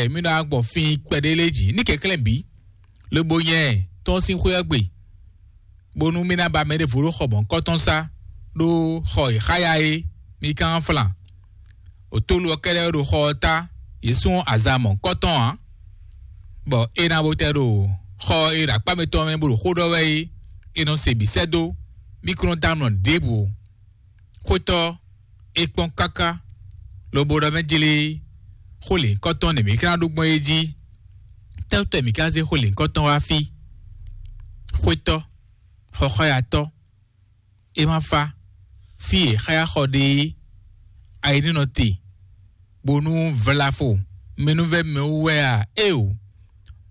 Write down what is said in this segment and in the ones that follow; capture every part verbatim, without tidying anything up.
Ɛ, mí nɔ wá gbɔ fín kpɛɖé lé jí ní kɛnklɛ́n bǐ, lobo nyɛ tɔn sín xwé ɔ́ gbe, bónú mí ná ba mɛ ɖěvo ɖó xɔ mɔ̌hunkɔtɔn sá, ɖó xɔ e xá ya é, mí ka nɔ flan. Otolu ɔ́ kɛ́ɖɛ́ ɖo xɔ ɔ́ ta, yě sún aza mɔ̌hunkɔtɔn ǎ, bɔ é ná bo tɛ ɖo xɔ e ɖo akpá mǐtɔn mɛ bó ɖo xó ɖɔ wɛ é, è nɔ se bǐ sɛ́ dó, mí kún nɔ dɔ́ amlɔ ɖěbǔ ó. Xwétɔ́, é kpɔ́n káká, lobo ɖɔ mɛ jlé xó lěhunkɔtɔn nɛ mǐ ka ná ɖó gbɔn é jí. Tɛ́tɔ́ mǐ ka zé xó lěhunkɔtɔn wá fí? Xwétɔ́, xɔxɔ́yatɔ́, é ma fá fí e xáyaxɔ ɖe é, ayi ní nɔ te, bónú vlafo mɛnúvɛ́ mɛ wú wɛ a? Éeǒ,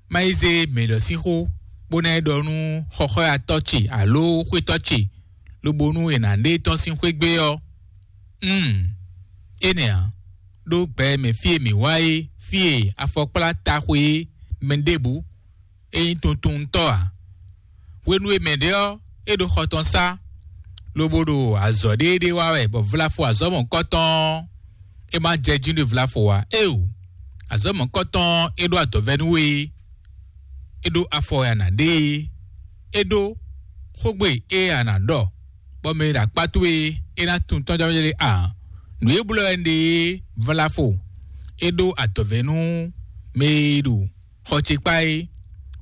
má yi zé mɛ ɖɔ sín xó, bó ná yi ɖɔ nú xɔxɔ́yatɔ́ ce aló xwétɔ́ ce, lobo nú è nǎ ɖe tɔ́n sín xwé gbé ɔ́. Mm, énɛ́ ǎ, ɖó gbɛ e mɛ fí e mǐ wá é, fí e afɔkplá taxwe é, mɛ ɖěbǔ é nyí tuntuntɔ́ ǎ. Hwenu e mɛ ɖě ɔ́, é ɖo xɔ tɔn sá, lobo ɖo azɔ̌ ɖéeɖée wa wɛ, bɔ vlafo azɔ̌ mɔ̌hunkɔtɔn ɔ́, é ma jɛ jí nú vlafo ǎ. Éeǒ, azɔ̌ mɔ̌hunkɔtɔn ɔ́, é ɖó adɔ̌vɛ́ nú we, é ɖó afɔ e a nǎ ɖe é, é ɖó xógbe e a nǎ ɖɔ, bɔ mɛ e ɖo akpá towe é ná tunwun tɔ́jɔ́jɔ́ ɖé ǎ. Nǔ e blɔ́ wɛ un ɖe é, vlafo, é ɖó adɔ̌vɛ́ nú mɛ e ɖo xɔ ce kpá é.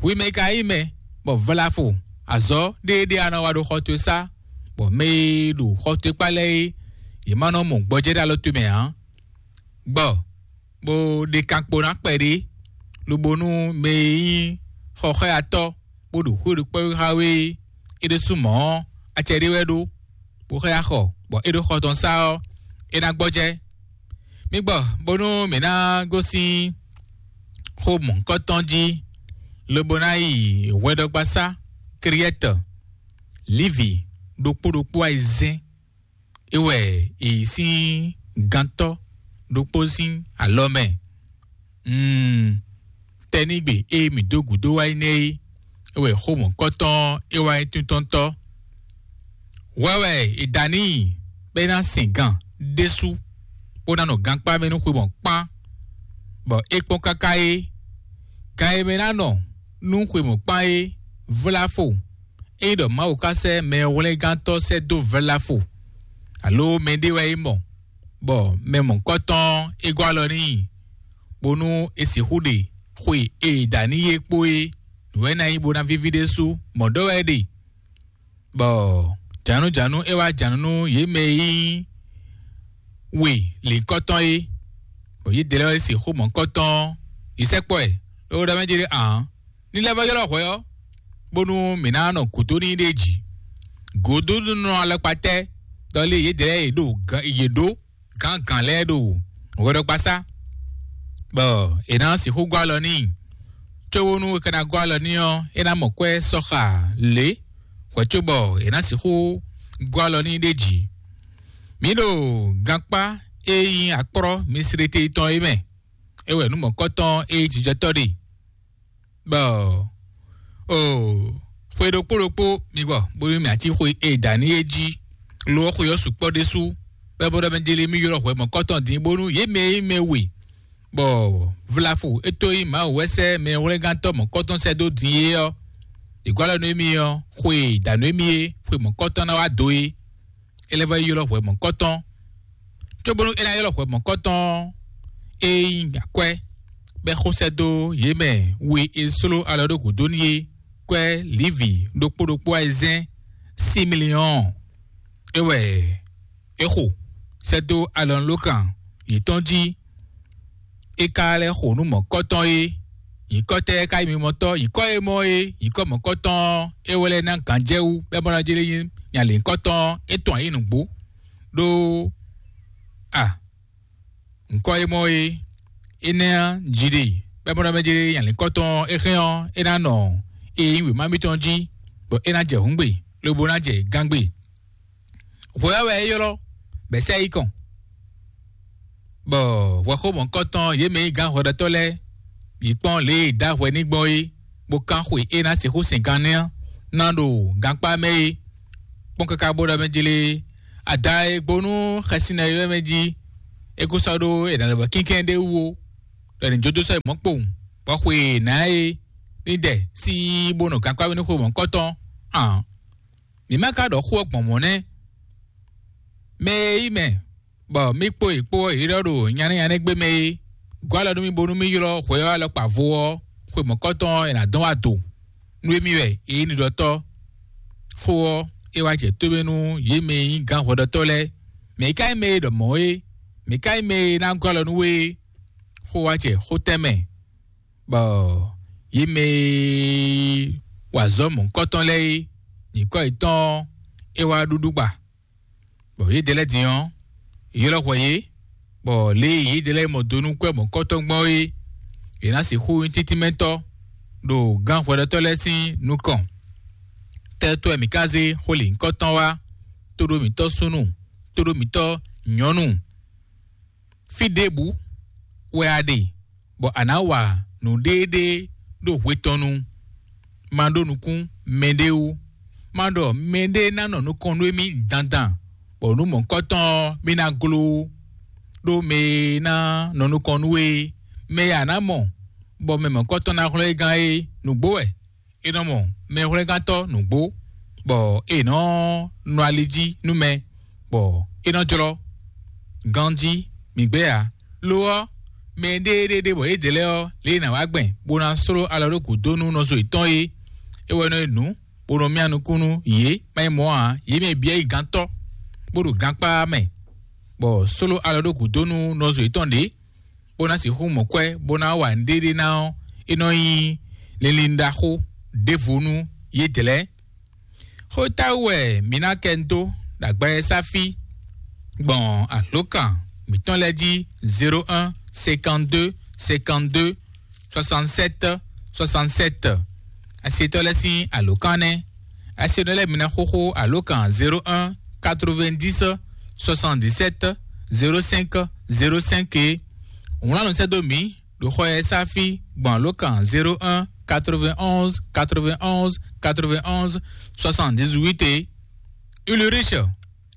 Hwi mɛ ka nyí mɛ, bɔ vlafo azɔ̌ ɖéeɖée a nɔ wa ɖo xɔ towe sá, bɔ mɛ e ɖo xɔ towe kpá lɛ́ɛ é, yě ma nɔ mɔ gbɔjɛ́ ɖo alɔ towe mɛ ǎ. Gbɔ, bó ɖe kankpo ná kpɛɖé, lobo nú mɛ e nyí xɔxɔ́yatɔ́, bó ɖo xwé ɖokpó xá we é, é ɖésú mɔ̌ ɔ́, acɛ ɖé wɛ ɖó, bó xá ya xɔ, bɔ é ɖo xɔ tɔn sá ɔ́, é ná gbɔjɛ́. Mi gbɔ, bónú mǐ ná gosín xó mɔ̌hunkɔtɔn jí, lobo ná yi hwɛɖɔgbasá Kriɛ́tɔ, Livi ɖokpó ɖokpó ayizɛ́n, é wɛ è yi sín gantɔ́ ɖokpó sín alɔ mɛ. Mm, tɛnígbe e mǐ dó gǔdo wá yi nɛ́ é, é wɛ xó mɔ̌hunkɔtɔn é wá nyí tíntɔ́ntɔ́. Hwɛ wɛ è da n'i bɔ é ná sin gan ɖésú, bó ná nɔ gankpá mɛ nú xwe mɔ̌ kpán, bɔ é kpɔ́n káká é. Gan e mɛ ná nɔ nú xwe mɔ̌ kpán é, vlá fo. Ényí ɖɔ Mawu ka sɛ́ mɛhwlɛ́ngántɔ́ sɛ́ dó vlafo, alo mɛɖé wɛ é mɔ, bɔ mɛ mɔ̌hunkɔtɔn é gɔ́ alɔ n'i, bónú è sixú ɖe xwe e è da n'i é kpó é, nǔ wɛ é ná nyí bó ná víví ɖésú, mɔ̌ ɖɔ wɛ é ɖe. Bɔ jǎnújǎnú é wá jǎnú nú yě mɛ e nyí we lǐnkɔtɔn é, bɔ yědɛɛ lɛ́ɛ wɛ sixú mɔ̌hunkɔtɔn yi sɛkpɔ́ ɛ, ló ɖɔ mɛ jí ɖé ǎ. Ní lɛ́ vɔ́ ylɔ́ hwɛ ɔ́, bónú mǐ ná nɔ gǔdo n'i ɖ'é jí. Gǔdonúnɔ alɔkpatɛ́ ɖɔ lé yědɛɛ lɛ́ɛ e ɖo gǎn- yě ɖó gǎngǎn lɛ́ɛ ɖo hwɛɖɔgbasá, bɔ è nǎ sixú gɔ́ alɔ n'i. Cóbónú è ka ná gɔ́ alɔ n'i ɔ́, é ná mɔ kwɛ́ sɔ́ xa lě hwɛ̌ cóbɔ è nǎ sixú gɔ́ alɔ n'i ɖ'é jí. Mǐ ɖo gankpá e nyí akplɔ́ Misirete tɔn é mɛ, é wɛ nǔ mɔ̌kɔtɔn e nyí jijɔtɔ́ ɖe. Bɔ, o, xwe ɖokpó ɖokpó mi gbɔ, bónú mì ací xwe e da ní é jí, lo ɔ́ xwe ɔ́ sukpɔ́ ɖésú, bɔ é bó ɖɔ mɛ jeli mì ylɔ́ hwɛ mɔ̌kɔtɔn din, bónú yě mɛ e nyí mɛ we, bɔ vlafo é tó nyí Mawu wɛ sɛ́ mɛ hwlɛ́ngántɔ́ mɔ̌kɔtɔn sɛ́ dó din é ɔ́, è gɔ́ alɔ nú émí ɔ́, xwe e da nú émí é, xwe mɔ̌kɔtɔn ná wá do é. É lɛ́ vɔ́ yi ylɔ́ hwɛ mɔ̌kɔtɔn, cóbónú é ná ylɔ́ hwɛ mɔ̌kɔtɔn ɔ́, é nyí akwɛ́, bɔ é xo sɛ́ dó yě mɛ we e sló alɔ ɖó gǔdo n'i é, kwɛ́ Livi ɖokpó ɖokpó ayizɛ́n similiɔ́ɔn. É wɛ é xo sɛ́ dó alɔnulókan yětɔn jí. É ka lɛ́ xo nú mɔ̌kɔtɔn é, nyǐkɔ tɛ́ ka nyí mimɔtɔ́? Nyǐkɔ e mɔ é, nyǐkɔ mɔ̌kɔtɔn ɔ́, é wɛ lɛ́ ná gǎnjɛwú, bɔ é mɔ ná jlé nyí nya lěhunkɔtɔn ɔ́, é tɔn ayǐ nǔgbó. Ɖó a, nyǐkɔ e mɔ é, énɛ́ ɔ́, jǐ ɖe, bɔ é mɔ ná mɛ jlé nya lěhunkɔtɔn ɔ́, é hɛn ɔ́, é ná nɔ e nyí wěma mitɔn jí, bɔ é ná jɛ hǔngbe, lobo ná jɛ gángbe. Hwɛ ɔ́ wɛ é ylɔ́, bɔ é sɛ yi kɔn. Bɔ hwɛxómɔkɔtɔn yě mɛ e nyí gǎn hwɛɖɔtɔ́ lɛ́ɛ yi kpɔ́n lě e è dǒ ahwɛ n'i gbɔn é, bó kán xwe e ná sixú sɛn gan nɛ́ ɔ́ ná ɖo gankpá mɛ é. Kpɔ́n káká bó ɖɔ mɛ jlé, ada e gbo nú xɛsi ná yi wɛ mɛ jí, é kó sɔ́ ɖó è nǎ lɛ́ vɔ kínkɛ́n ɖé wú ó. ɖɔ è nǐ jó dó sɔ́ yi mɔ̌ kpowun, bɔ xwe e è nǎ é ní dɛ sín bó nɔ gankpá wɛ ní xwe mɔ̌hunkɔtɔn ǎ. Mǐ má ka ɖɔ xó ɔ́ gbɔn mɔ̌ nɛ́. Mɛ e yí mɛ, bɔ mí kpó yě kpó ɔ́, yě ɖɔ ɖo nyanɛ́ nyanɛ́ gbé mɛ é, gɔ́ alɔ nú mì bónú mì ylɔ́ hwɛ ɔ́ alɔkpa vo ɔ́, xwe mɔ̌kɔtɔn ɔ́, è nǎ dɔn wá do. Nú émí wɛ é nyí nǔɖɔtɔ́. Xó ɔ́, é wá jɛ tómɛ nú yě mɛ e nyí gǎn hwɛɖɔtɔ́ lɛ́ɛ. Mɛ̌ ka nyí mɛ e ɖɔ mɔ̌ é? Mɛ̌ ka nyí mɛ e ná gɔ́ alɔ nú we é? Xó wá jɛ xó tɛ́nmɛ, bɔ yě mɛ e wa azɔ̌ mɔ̌hunkɔtɔn lɛ́ɛ é, nyǐkɔ yětɔn ɔ́, é wá ɖúɖú gba, bɔ yědɛɛ lɛ́ɛ din ɔ́, yě ylɔ́ hwɛ yě, bɔ lě e yědɛɛ lɛ́ɛ mɔ do nú kwɛ́ mɔ̌hunkɔtɔn gbɔn é, yě ná sixú nyí títínmɛtɔ́ ɖo gǎn hwɛɖɔtɔ́ lɛ́ɛ sín nukɔn. Tɛ́tɔ́ wɛ mǐ ka zé xó lǐnkɔ́tɔn wá, tóɖó mǐtɔn súnnu, tóɖó mǐtɔn nyɔ̌nu? Fí ɖěbǔ wɛ a ɖe, bɔ a nǎ wa nǔɖéeɖée ɖo hwe tɔn nu. Ma ɖó nukún mɛɖé wú. Ma ɖɔ mɛɖé ná nɔ nukɔn nú émí dandan, bɔ nǔ mɔ̌kɔtɔn ɔ́, mì ná gló wú. Ɖó mɛ e ná nɔ nukɔn nú we é, mɛ e a nǎ mɔ, bɔ mɛ mɔ̌kɔtɔn ná hlɔ́ é gán é, nǔgbó wɛ. È nɔ mɔ mɛhwlɛ́ngántɔ́ nǔgbó, bɔ è nɔ nɔ ali jí nú mɛ, bɔ é nɔ jlɔ́ ganjí mǐgbé ǎ. Lo ɔ́, mɛ ɖéeɖée ɖe bɔ yědɛɛ lɛ́ɛ ɔ́, lě e è nǎ wá gbɛn bó ná sló alɔ ɖó gǔdo nú nɔzo yětɔn é, é wɛ nɔ nyí nǔ, bó nɔ myá nukún nú yě, má nyí mɔ̌ ǎ, yě mɛ bǐ wɛ nyí gǎntɔ́, bó ɖo gankpá mɛ, bɔ sló alɔ ɖó gǔdo nú nɔzo yětɔn ɖě, bó ná sixú mɔ kwɛ́, bó ná wa nǔɖéɖé ná ɔ́, é nɔ nyí linlin ɖaxó ɖěvo nú yědɛɛ lɛ́ɛ. Xó táwú wɛ mǐ ná kɛ dó ɖo agbawɛsá fí gbɔn alǒkan mǐtɔn lɛ́ɛ jí: zéro un, cinquante deux, cinquante deux, soixante sept, soixante sept. Asetɔ́ lɛ́ɛ sín alǒkan nɛ́. Asetɔ́ lɛ́ɛ mi ná xóxó alǒkan zéro un, quatre vingt dix, soixante dix sept, zéro cinq, zéro cinq é. Wlán nǔ sɛ́ dó mǐ ɖo xɔ e sá fí gbɔn alǒkan zéro un, quatre vingt onze, quatre vingt onze, quatre vingt onze, soixante dix huit é. Ulrich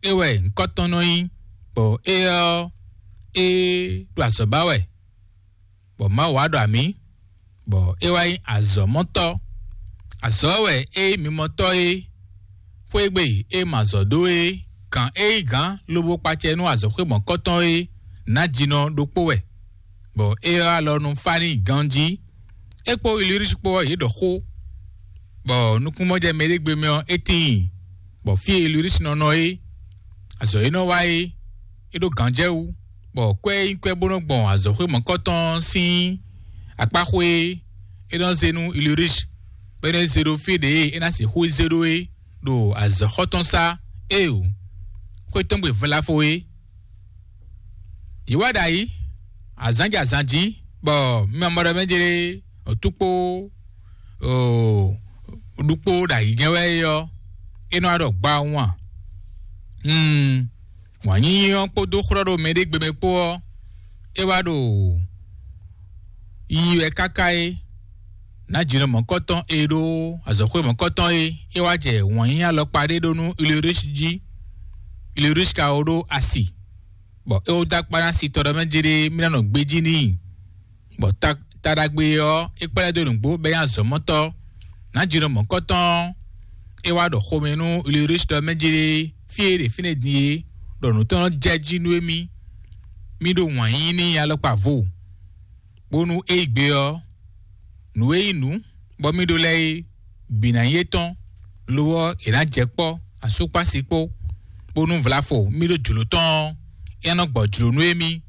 é wɛ ŋkɔ́ tɔn nɔ nyí, bɔ é ɔ́, é ɖo azɔ̌ ba wɛ, bɔ Mawu wá ɖɔ amǐ, bɔ é wá nyí azɔ̌mɔtɔ́. Azɔ̌ wɛ é nyí mimɔtɔ́ é, xwé gbe é ma azɔ̌ dó é, gǎn é nyí gǎn lobo kpacɛ nú azɔ̌xwé mɔ̌kɔtɔn é, nǎjinɔ ɖokpó wɛ, bɔ é ɔ́ alɔ nɔ fá n'i ganjí. É kpó Ilirisi kpó ɔ́, yě ɖɔ xó, bɔ nukúnmɔjɛmɛ ɖé gbe mɛ ɔ́, é tíin, bɔ fí e Ilirisi nɔ nɔ é, azɔ̌ e nɔ wa é, é ɖó gǎnjɛwú, bɔ kwɛ́ e nyí kwɛ́ bó nɔ́ gbɔn azɔ̌xwé mɔ̌kɔtɔn sín akpáxwé é, é nɔ zé nú Ilirisi, bɔ é nɔ zé ɖó fí ɖě e é ná sixú zé ɖó é, ɖo azɔ̌xɔ́ tɔn sá. Éeǒ, xwé tɔn gbe vlafo é. Yě wá ɖo ayǐ azǎn jɛ azǎn jí, bɔ mi ma mɔ ɖɔ mɛ jlé òtúkpó ɖukpó ɖo ayǐ jɛ́n wɛ é ɔ́, é nɔ wá ɖɔ gbawun a? Wǎn nyínyí ɔ́ kpódó xlɔ́ ɖo mɛɖé gbe mɛ kpó ɔ́, é wá ɖo yiyi wɛ káká é. Nǎjinɔ mɔ̌kɔtɔn e ɖó azɔ̌xwé mɔ̌kɔtɔn é, é wá jɛ wǎn nyínyí alɔkpa ɖé ɖó nú Ilirisi jí. Ilirisi ka wó ɖó asi, bɔ é wó dó akpá ná sitɔ ɖɔ mɛ jlé mì ná nɔ gbejí n'i, bɔ ta ɖagbe ɔ́, é kplá ɛ dó nǔgbó bɔ é nyí azɔ̌mɔtɔ́. Nǎjinɔ mɔ̌kɔtɔn ɔ́, é wá ɖɔ xomɛ nú Ilirisi ɖɔ mɛ jlé fí e é ɖe fínɛ́ din é, ɖɔ nǔ tɔn nɔ jɛ jí nú émí. Mí ɖó wǎn yíyí n'i alɔkpa vo, bónú é yi gbe ɔ́, nǔ e nyí nǔ bɔ mí ɖó lɛ́ɛ é, bǐ ná nyí étɔn, lo ɔ́, è nǎ jɛ kpɔ́ asúkpási kpó, bónú vlafo mí ɖó jlǒ tɔn ɔ́, é nɔ gbɔ jlǒ nú émí.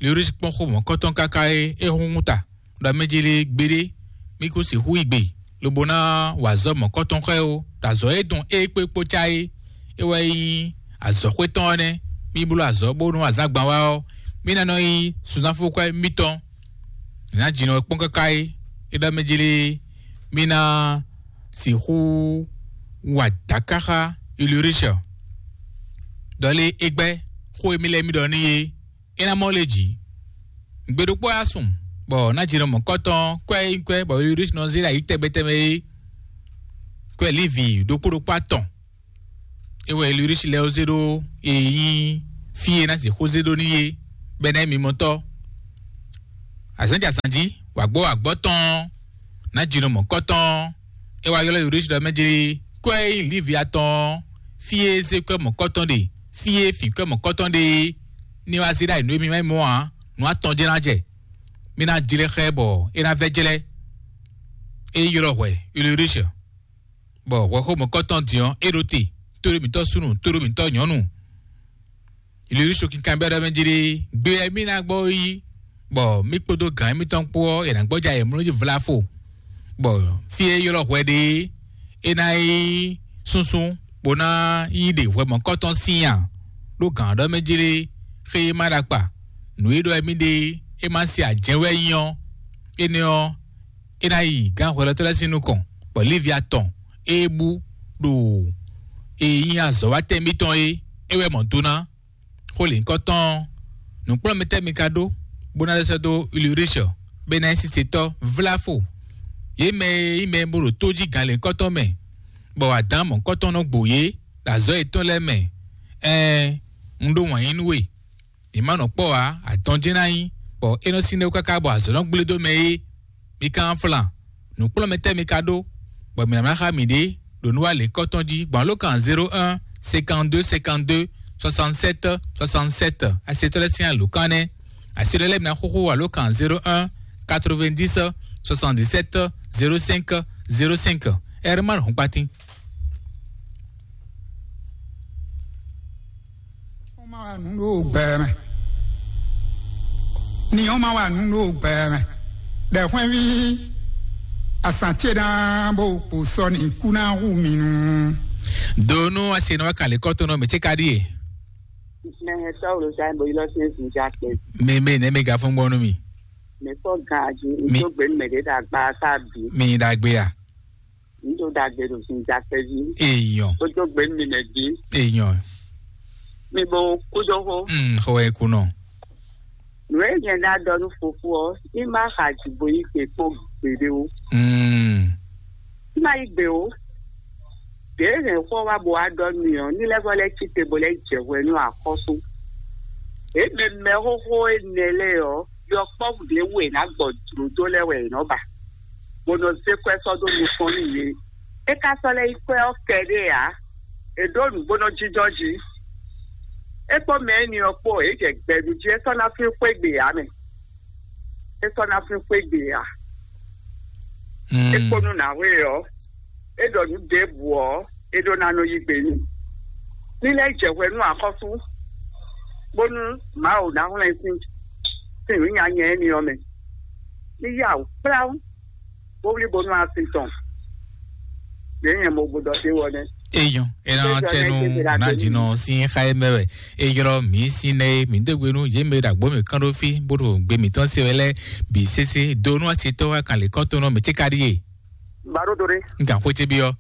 Lewlísi kpɔ́n xó mɔ̌kɔtɔn káká é, é húnhún ta ɖɔ mɛ jlé gbeɖé mí kún sixú yi gbe, lobo ná wa azɔ̌ mɔ̌kɔtɔn xá ɛ ó, ɖo azɔ̌ e dɔn é kpé kpó cá é, é wɛ nyí azɔ̌xwé tɔn ɔ́ nɛ́. Mí bló azɔ̌ bónú azǎn gban wá ɔ́, mí ná nɔ nyí sunzánfúkwɛ́ mítɔn. Nǎ jǐnɔ kpɔ́n káká é, é ɖɔ mɛ jlé mí ná sixú wa dǎ káxá Ilirisi. Ɖɔ lé é gbɛ́ xó e mí lɛ́ mí ɖɔ n'i é, é ná mɔ lé jǐ. Gbe ɖokpó wá sun, bɔ nǎ jǐnɔ mɔ̌kɔtɔn kwɛ́ e nyí kwɛ́ bɔ Ilirisi nɔ zé ɖo ayǐ tɛgbɛ tɛgbɛ é, kwɛ́ Livi ɖokpó ɖokpó atɔn. É wɛ Ilirisi lɛ́ ɔ́ zé ɖó e nyí fí e ná sixú zé ɖó n'i é, bɔ é ná nyí mimɔtɔ́. Azǎn jɛ azǎn jí, wǎgbɔ́ wǎgbɔ́ tɔn, nǎ jinɔ mɔ̌kɔ́tɔn. É wá ylɔ́ Yurúsi ɖɔ mɛ jí, kɔ́ e nyí Lívia tɔn, fí e zé kɔ́ mɔ̌kɔ́tɔn ɖe, fí e fǐ kɔ́ mɔ̌kɔ́tɔn ɖe, ní wá zé ɖ'ayǐ nú émí má nyí mɔ̌ ǎ, nǔ atɔn jɛ́n ná jɛ. Mí ná jlɛ́ xá ɛ bɔ é ná vɛ́ jlɛ́. É ylɔ́ hwɛ Yurúsi, bɔ hwɛxó mɔ̌kɔ́tɔn din ɔ́, é ɖo te, tóɖó mǐtɔn súnnu, tóɖó mǐtɔn nyɔ̌nu. Yurúsi kinkanbyɔ́ ɖɔ mɛ jí ɖé, gbe wɛ mí ná gbɔ yi, bɔ mí kpódó gǎn émítɔn kpó ɔ́, è nǎ gbɔ́ jɛ ayǐmlɔ́ jí vlafo, bɔ fí e ylɔ́ hwɛ ɖe é, é ná yi súnsún, bó ná yi ɖe hwɛ mɔ̌kɔ́tɔn sín a? Ɖó gǎn ɔ́ ɖɔ mɛ jí ɖé, xé e má ɖo akpa, nǔ e ɖɔ wɛ mí ɖe é má se ajɛ̌ wɛ nyí ɔ́, énɛ́ ɔ́, é ná yi gǎn hwɛɖɔtɔ́ lɛ́ɛ sín nukɔn, bɔ Lívia tɔn e bú ɖo e nyí azɔ̌watɛ́ mítɔn é, é wɛ mɔ do ná. Xó lěhunkɔtɔn ɔ́, nǔkplɔ́nmɛtɛ́ mi ka ɖó, bó ná lɛ́ sɛ́ dó Ulrich, bɔ é ná nyí sisetɔ́ vláfo? Yě mɛ e nyí mɛ e bó ɖo tó jí gǎn lěhunkɔtɔn mɛ, bɔ adǎn mɔ̌hunkɔtɔn nɔ gbo yě ɖo azɔ̌ yětɔn lɛ́ɛ mɛ. Ɛɛn, un ɖó wǎn yí nú we. Mǐ ma nɔ kpɔ́ ǎ, adɔn jɛ́n ná nyí, bɔ é nɔ sín ɖó káká bɔ azɔ̌ nɔ gblé dó mɛ é. Mi ka nɔ flan, nǔkplɔ́nmɛtɛ́ mi ka ɖó, bɔ mǐ ná xá mǐɖée ɖo nú wa lěkɔ́tɔn jí gbɔn alǒkan zéro un cinquante-deux cinquante-deux soixante-sept soixante-sept, asetɔ́ lɛ́ɛ sín alǒkan nɛ́. Asi lɛ́ɛ lɛ́ɛ mi ná xúxú alǒkan zéro un quatre-vingt-dix soixante-dix-sept zéro cinq zéro cinq. Herman Hɔnkpatín. Wọ́n máa wà nínú ògbẹ́ mẹ́. Ni wọ́n máa wà nínú ògbẹ́ mẹ́. Ɖɛ̌xwɛ́nví asantieɖán bó kpo sɔ́ ní kú ná hu mi nú. Donu asenɔ wa kale kɔtɔnɔ mɛ tse ka ɖie. Mɛ tɔwlo sa bo yilɔ se zun ja kpe. Mɛ mɛ nɛ mɛ ga fún gbɔnu mi. Mɛ fɔ gan aji. Mi- Ŋutɔ gbe mɛ ɖe da gba sa bi. Mi da gbe ya. Ŋutɔ da gbe ɖo sin ja kpe vi. Eyɔn. Ŋutɔ gbe mi mɛ bi. Eyɔn. Mi bo kudo ho. Mm, ho e kunɔ. Nǔ e nyɛ ná ɖɔ nú fofo ɔ́, ní má xa jǐ bo yí gbe kpɔ́n gbeɖé ó. Mm. Ní má yí gbe ó. Ɖěe hɛn xó wá bo wá ɖɔ nú ɔ́, ní lɛ́ vɔ lɛ́ cí te bo lɛ́ jɛ hwɛ nú axɔ́sú. Ě mɛ mɛxóxó énɛ́ lɛ́ɛ ɔ́, yɔkpɔ́vú ɖě wú è nǎ gbɔ jlǒ dó lɛ́ɛ wɛ è nɔ́ ba, bó nɔ zé kwɛ́ sɔ́ dó nukɔn nú yě. É ka sɔ́ lɛ́ nyí kwɛ́ ɔ́ kɛɖée ǎ. È ɖǒ nǔgbónɔ jínjɔ́n jí. É kpó mɛ énɛ́ ɔ́ kpó, é jɛ gbɛɖu jí, é sɔ́ ná flín xwé gbe ǎ mɛ. É sɔ́ ná flín xwé gbe ǎ. Mm. É kpó nú nǎwe ɔ́, é ɖɔ nǔ ɖěbǔ ɔ́, é ɖó ná nɔ yí gbe n'i. Ní lɛ́ jɛ hwɛ nú axɔ́sú, bónú Mawu ná hwlɛ́n sín sín nǔ nyanya énɛ́ ɔ́ mɛ. Ní yá wǔ kplá wú, bó wlí bónú asi tɔn. Yě nyɛ mo gbɔdɔ ɖé wɔ nɛ́. Eyɔn, ena Eyɔn, tɛnu ena tɛnu. Nadinɔ sin xa ye mɛ wɛ. Eyɔn mi sin nɛ mi dó gbenu ye mɛ ɖagbo mi kán ɖó fí bó ɖo gbé mi tɔn se wɛ lɛ bi sese do nú asi tɔ wa kan lè kɔtɔn nɔ mi tse ka ɖi ye. Baro dore. N kan xwete bi ɔ.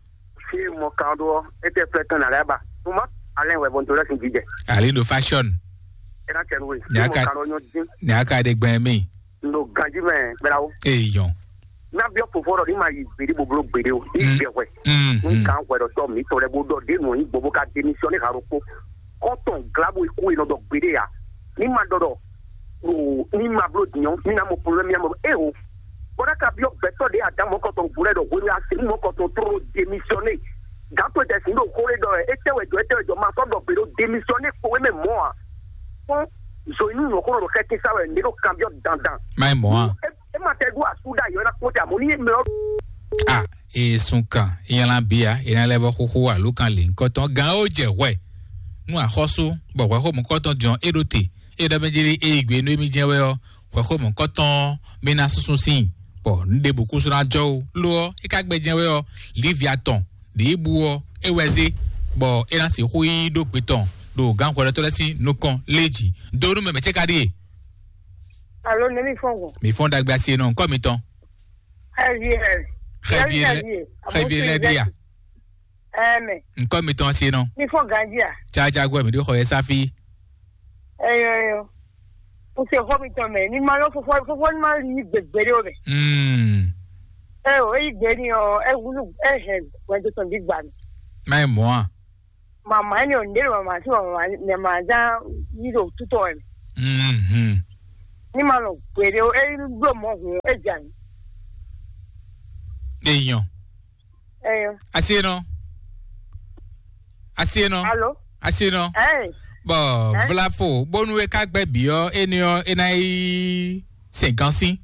Fi mo kan do ɔ, e tɛ flɛ tɔn na lɛ ba. Tuma, alɛ wɛ bɔn to lɛ sin jijɛ. Ali do fashion. Ena tɛnu we. Fi mo kan do nyɔ din. Ne aka de gbɛn mi. N ɖo ganjí mɛ kpɛɖawo. Eyɔn. Ná biɔ fofo ɖɔ ní ma yi gbeɖé boblo gbeɖé o. Ní Mm. Jɛ hwɛ. Mm, Ní mm. Kan hwɛ ɖɔ tɔ mi tɔ lɛ bó ɖɔ ɖé nɔ yí gbogbo ka démissionné ha ɖokpó. Kɔntɔn glabu ikú yi nɔ ɖɔ gbeɖé ya. Ní ma ɖɔ ɖɔ o ní ma bló dinyɔ ní na mɔ problème ya mɔ e o. Bɔɖa ka biɔ gbɛtɔ ɖé adan mɔ kɔntɔn gblɛ ɖɔ hwenu ya se mɔ kɔntɔn tró démissionné. Gantɔ jɛ sin ɖo xó ɖé ɖɔ ɛ etɛ wɛ jɔ etɛ wɛ jɔ ma sɔ ɖɔ gbeɖé o démissionné kpo wɛ mɛ mɔ a. Fɔn zo inú nyɔ̌kúnɔ ɖo xɛkín sá wɛ ní ɖo kanbyɔ́ dandan. Má nyí mɔ̌ a? E e ma tɛ ɖó asú ɖ'ayǐ ɔ́ ná kpɔ́n te àmọ́ ní mɛ ɔ́. A e sun kan ìyànlá bíà ìyànlá lɛ́ vɔ xóxó àlùkàn lè ńkọ́tɔn gán ó jẹ hwɛ nú àxɔ́sú bɔ hwɛxómù kɔ́tɔn jɔn é ɖó te é ɖɔ mɛ jeli é yi gbe nú émí jɛ́n wɛ ɔ́, hwɛxómù kɔ́tɔn mí ná súnsún sín bɔ nǔɖé bǔ kúsú ná jɔ ó. Ló ɔ́, é ka gbɛ jɛ́n wɛ ɔ́, Lívia tɔn ɖě bu ɔ́, é wɛ zé bɔ é ná sixú yi ɖó gbe tɔn ɖo gǎnxwɛɖɔtɔ́ lɛ́ɛ sín nukɔn lé jǐ. Dó nú mɛ mɛ̌ cɛ́ ka ɖíe? Alo, ne mi fɔn gɔn? Mi fɔn dagbe asi e nɔ ŋkɔ mitɔn. Xɛvi ɛ. Xɛvi ɛ lɛ, xɛvi ɛ lɛ ɖi a? Ɛmɛ. Ŋkɔ mitɔn asi e nɔ. Mi fɔn ganji a? Tsajagbɔ mi ɖo xɔ yɛ safi. Ɛyɔ ɛyɔ. N se xɔ mitɔn mɛ. Ni ma yɔ fofo fofo ni ma yi gbegbe ɖe o mɛ. Mm. Ɛ o, eyi gbe ni ɔ, ɛ wulu, ɛ hɛn wɛn to tɔn di gba mi. Má yi mɔ a? Mama ni o, n de mama si mama, mama za yi do tutɔ ɛ. Mm. Ní ma nɔ gbeɖé o, é bló mɔ̌ hǔn é jɛ ayǐ. Èèyàn. Ẹyọ. Asi e nɔ. Asi e nɔ. Alo. Asi e nɔ. Ɛ. Bɔn vlafo bónú e ká gbɛ bǐ ɔ́, éní ɔ́ é ná yi sɛn gan sín.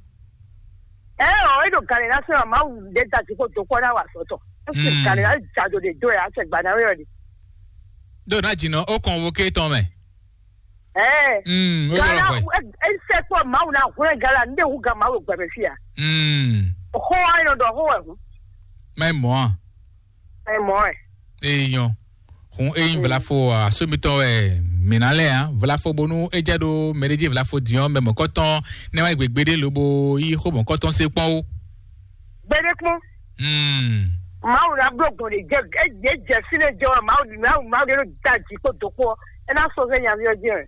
Ɛ ɔ, é ɖo gǎn lě ná sɛn ɔ, Mawu ɖé da jí kó dó kpɔ́ ná wa sɔtɔ. É sì gǎn lě ná jado ɖe dó ɛ, á sɛ gbǎ ná wé ɔ ɖe. Ɖó ná jǐnɔ ó kɔn wo ké tɔn mɛ. Ɛ. Mm, ó yɔrɔ Gala hwɛ. É sɛ kpɔ Mawu ná hwlɛ́n Gala ní ɖe hu gǎn Mawu gbɛmɛ fí a. Mm. Xó wa nɔ ɖɔ xó wɛ hu. Mɛ mɔ a. Ɛ mɔ ɛ. Eyɔn. Hun eyin vlafo asomitɔn wɛ mǐ ná lɛ a vlafo bónú é jɛ ɖó mɛɖéjí vlafo diɔn mɛ mɔkɔtɔn ne wá gbegbe ɖé lobo yí xó mɔkɔtɔn se kpɔn ó. Gbede kpɔn. Hmm. Mawu na bló gbɔn ɖe jɛ ɛ jɛ jɛ fínɛ jɛ wɛ Mawu Mawu Mawu ɖe ɖo da jǐ kpó dó kpó ɛ ná sɔ fɛ nyaví ɔ jɛ.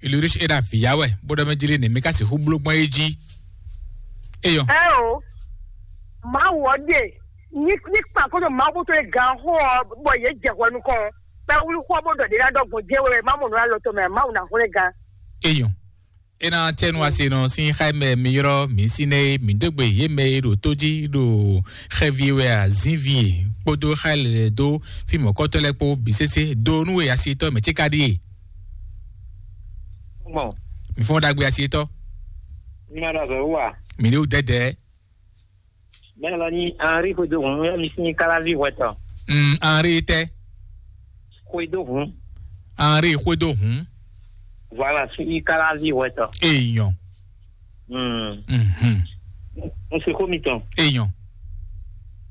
Ilurich é ɖo avǐ ya wɛ bó ɖɔ mɛ jlí nɛ mí ká sixú bló gbɔn é jí. Eyɔn. Ɛ o. Mawu ɔ ɖe ní ní kpa kó ɖo Mawu bó tó lé gan xó ɔ bɔ yě jɛ hwɛ nukɔn bɛ wlí xó ɔ bó ɖɔ ɖě ná ɖɔ gbɔn jɛ wɛ má mɔ nǔ alɔ tɔn mɛ Mawu ná hwlɛ́n gan. Eyɔn. É ná tɛ́ nú asi nɔ sín xá mɛ mi ylɔ́ mǐ sín nɛ́ é mǐ dó gbe yě mɛ e ɖo tó jí ɖo xɛvi wɛ azǐnvi e kpódó xá lɛ́ dó fí mɔ̌kɔtɔ́ lɛ́ɛ kpó bǐ sésé dó nú e asitɔ́ mɛ cíká ɖíe. Mɔ. Mi fɔ́n ɖagbe asitɔ́. Mi ma ɖo azɔ̌ wú a? Mi ní wú dɛdɛ. Mɛ lɔ ní Henri xwedó hǔn yɔ mi sín káláví hwɛtɔ. Mm, Henri tɛ. Xwedó hǔn. Henri xwedó hǔn. Voilà, sín káláví hwɛtɔ. Èèyàn. Mm. Mhm. N se xó mitɔn. Èèyàn.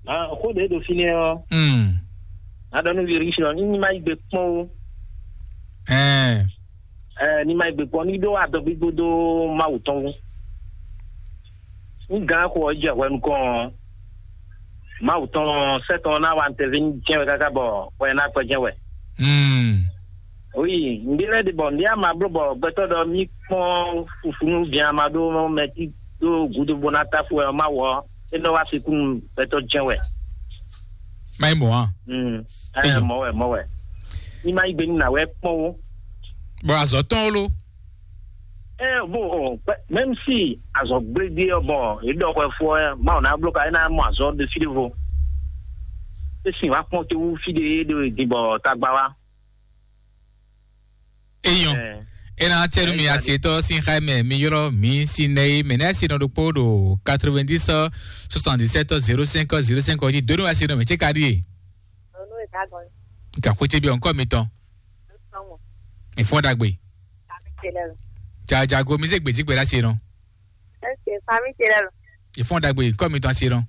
Ah, xó ɖě ɖo fínɛ́ ɔ́. Mm. Aɖɔ nú Virgísio ní ní má yi gbe kpɔ́n ó. Ɛɛ. Ɛɛ, ní má yi gbe kpɔ́n ní ɖó adɔgbígbó dó Mawu tɔn wú. Ní gǎn xo ɔ́ jɛ hwɛ nukɔn ɔ́, Mawu tɔn sɛ́ tɔn ná wa nǔtɛví jɛ́n wɛ káká bɔ hwɛ ná gbɛjɛ́n wɛ. Mm. Oui, ŋɖé lɛ́ɛ ɖe bɔ ŋɖé ama bló bɔ gbɛtɔ́ ɖɔ mí kpɔ́n fufunu bia ma ɖó mɛ tí ɖó gǔdo bó ná táfú wɛ ɔ́, Mawu ɔ́, é nɔ wá sixú nú gbɛtɔ́ jɛ́n wɛ. Má nyí mɔ̌ a? Mm. Ɛ, Eyo. Mɔ̌ wɛ, mɔ̌ wɛ. Ní má yí gbe ní nǎ wɛ kpɔ́n ó. Bɔ azɔ̌ tɔn ó ló. Ɛ, bó ɔ, même si azɔ̌ gblégbé ɔ́ bɔ é ɖɔ hwɛ fó ɔ́, Mawu ná bló ka é ná mɔ azɔ́ ɖé fí ɖěvo. É sin wá kpɔ́n tó wú fí ɖé é ɖo din bɔ tagba wá. Eyɔn. Ɛ. Ena tiɛnu mi asietɔ sin xa mɛ mi ylɔ mi si nɛ yi mɛ nɛ si nɔ ɖokpo ɖo quatre-vingt-dix soixante-dix-sept zéro cinq zéro cinq ɔ́ jí donu asi nɔ mɛ ce ka ɖi e. Nka xwete bi ɔnkɔ mi tɔn. Mi fɔn dagbe. Jajago mi se gbedzi gbe ɖa se nɔ. Eke fami ce lɛ lo. Ìfɔn dagbe kɔ mi tɔn asi nɔ.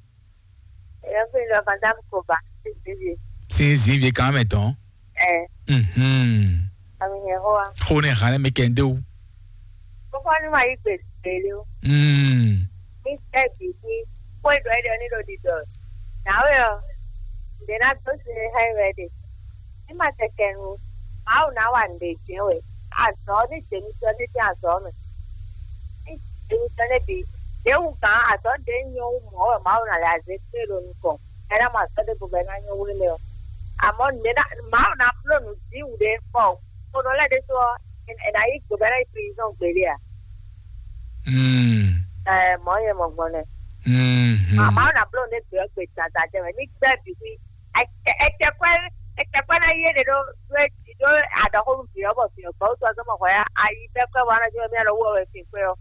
Eya fi lɔ fanta ko ba. Sisi. Sin zinvie kan mɛ tɔn. Ɛ. Mhm. Ami hɛ hoa. Xo ne han mi kɛnde o. Kókó ni ma yi gbe gbele o. Mm. Mi tɛ bi fi. Kó e dɔ e dɔ ni dɔ di dɔ. Na o yɔ. Nde na do si ne ha yi wɛ de. Ní ma tɛtɛ nu, Mawu ná wa nǔɖé jɛ́n wɛ. Azɔ̌ ní jě mitɔn ní dín azɔ̌ mɛ. Ní jě mitɔn ní bǐ. Ɖěwu gǎn azɔ̌ ɖě nyɔ́ wú mɔ̌ wɛ Mawu ná lɛ azě kplé ɖo nukɔn. Ɛ ná mɔ azɔ̌ ɖěvo bɔ é ná nyɔ́ wú émɛ ɔ́. Amɔ̌ nǔɖé ná Mawu ná bló nǔ dín wǔɖé bɔ xonɔ lɛ́ɛ ɖésú ɔ́, è nǎ yí gbǒ bɔ é ná yi prizɔ́n gbeɖé a? Mm. Ɛ mɔ̌ nyɛ mɔ gbɔn nɛ. Mm. Mawu ná bló nǔɖé gbě ɔ́ gbe dandan jɛ mɛ. Ní gbɛ́ bǐ xwí. Ecɛkpɛ ecɛkpɛ ná yé ɖe ɖó ɖó eti ɖó aɖɔxónú vǐ ɔ́ bɔ vǐ ɔ́ gbɔ wútu ɔ́ zɔ́n mɔ hwɛ ayi bɛ́ kwɛ́ wa ná jó mía lɔ wú ɔ́ wɛ fin kwɛ́ ɔ́.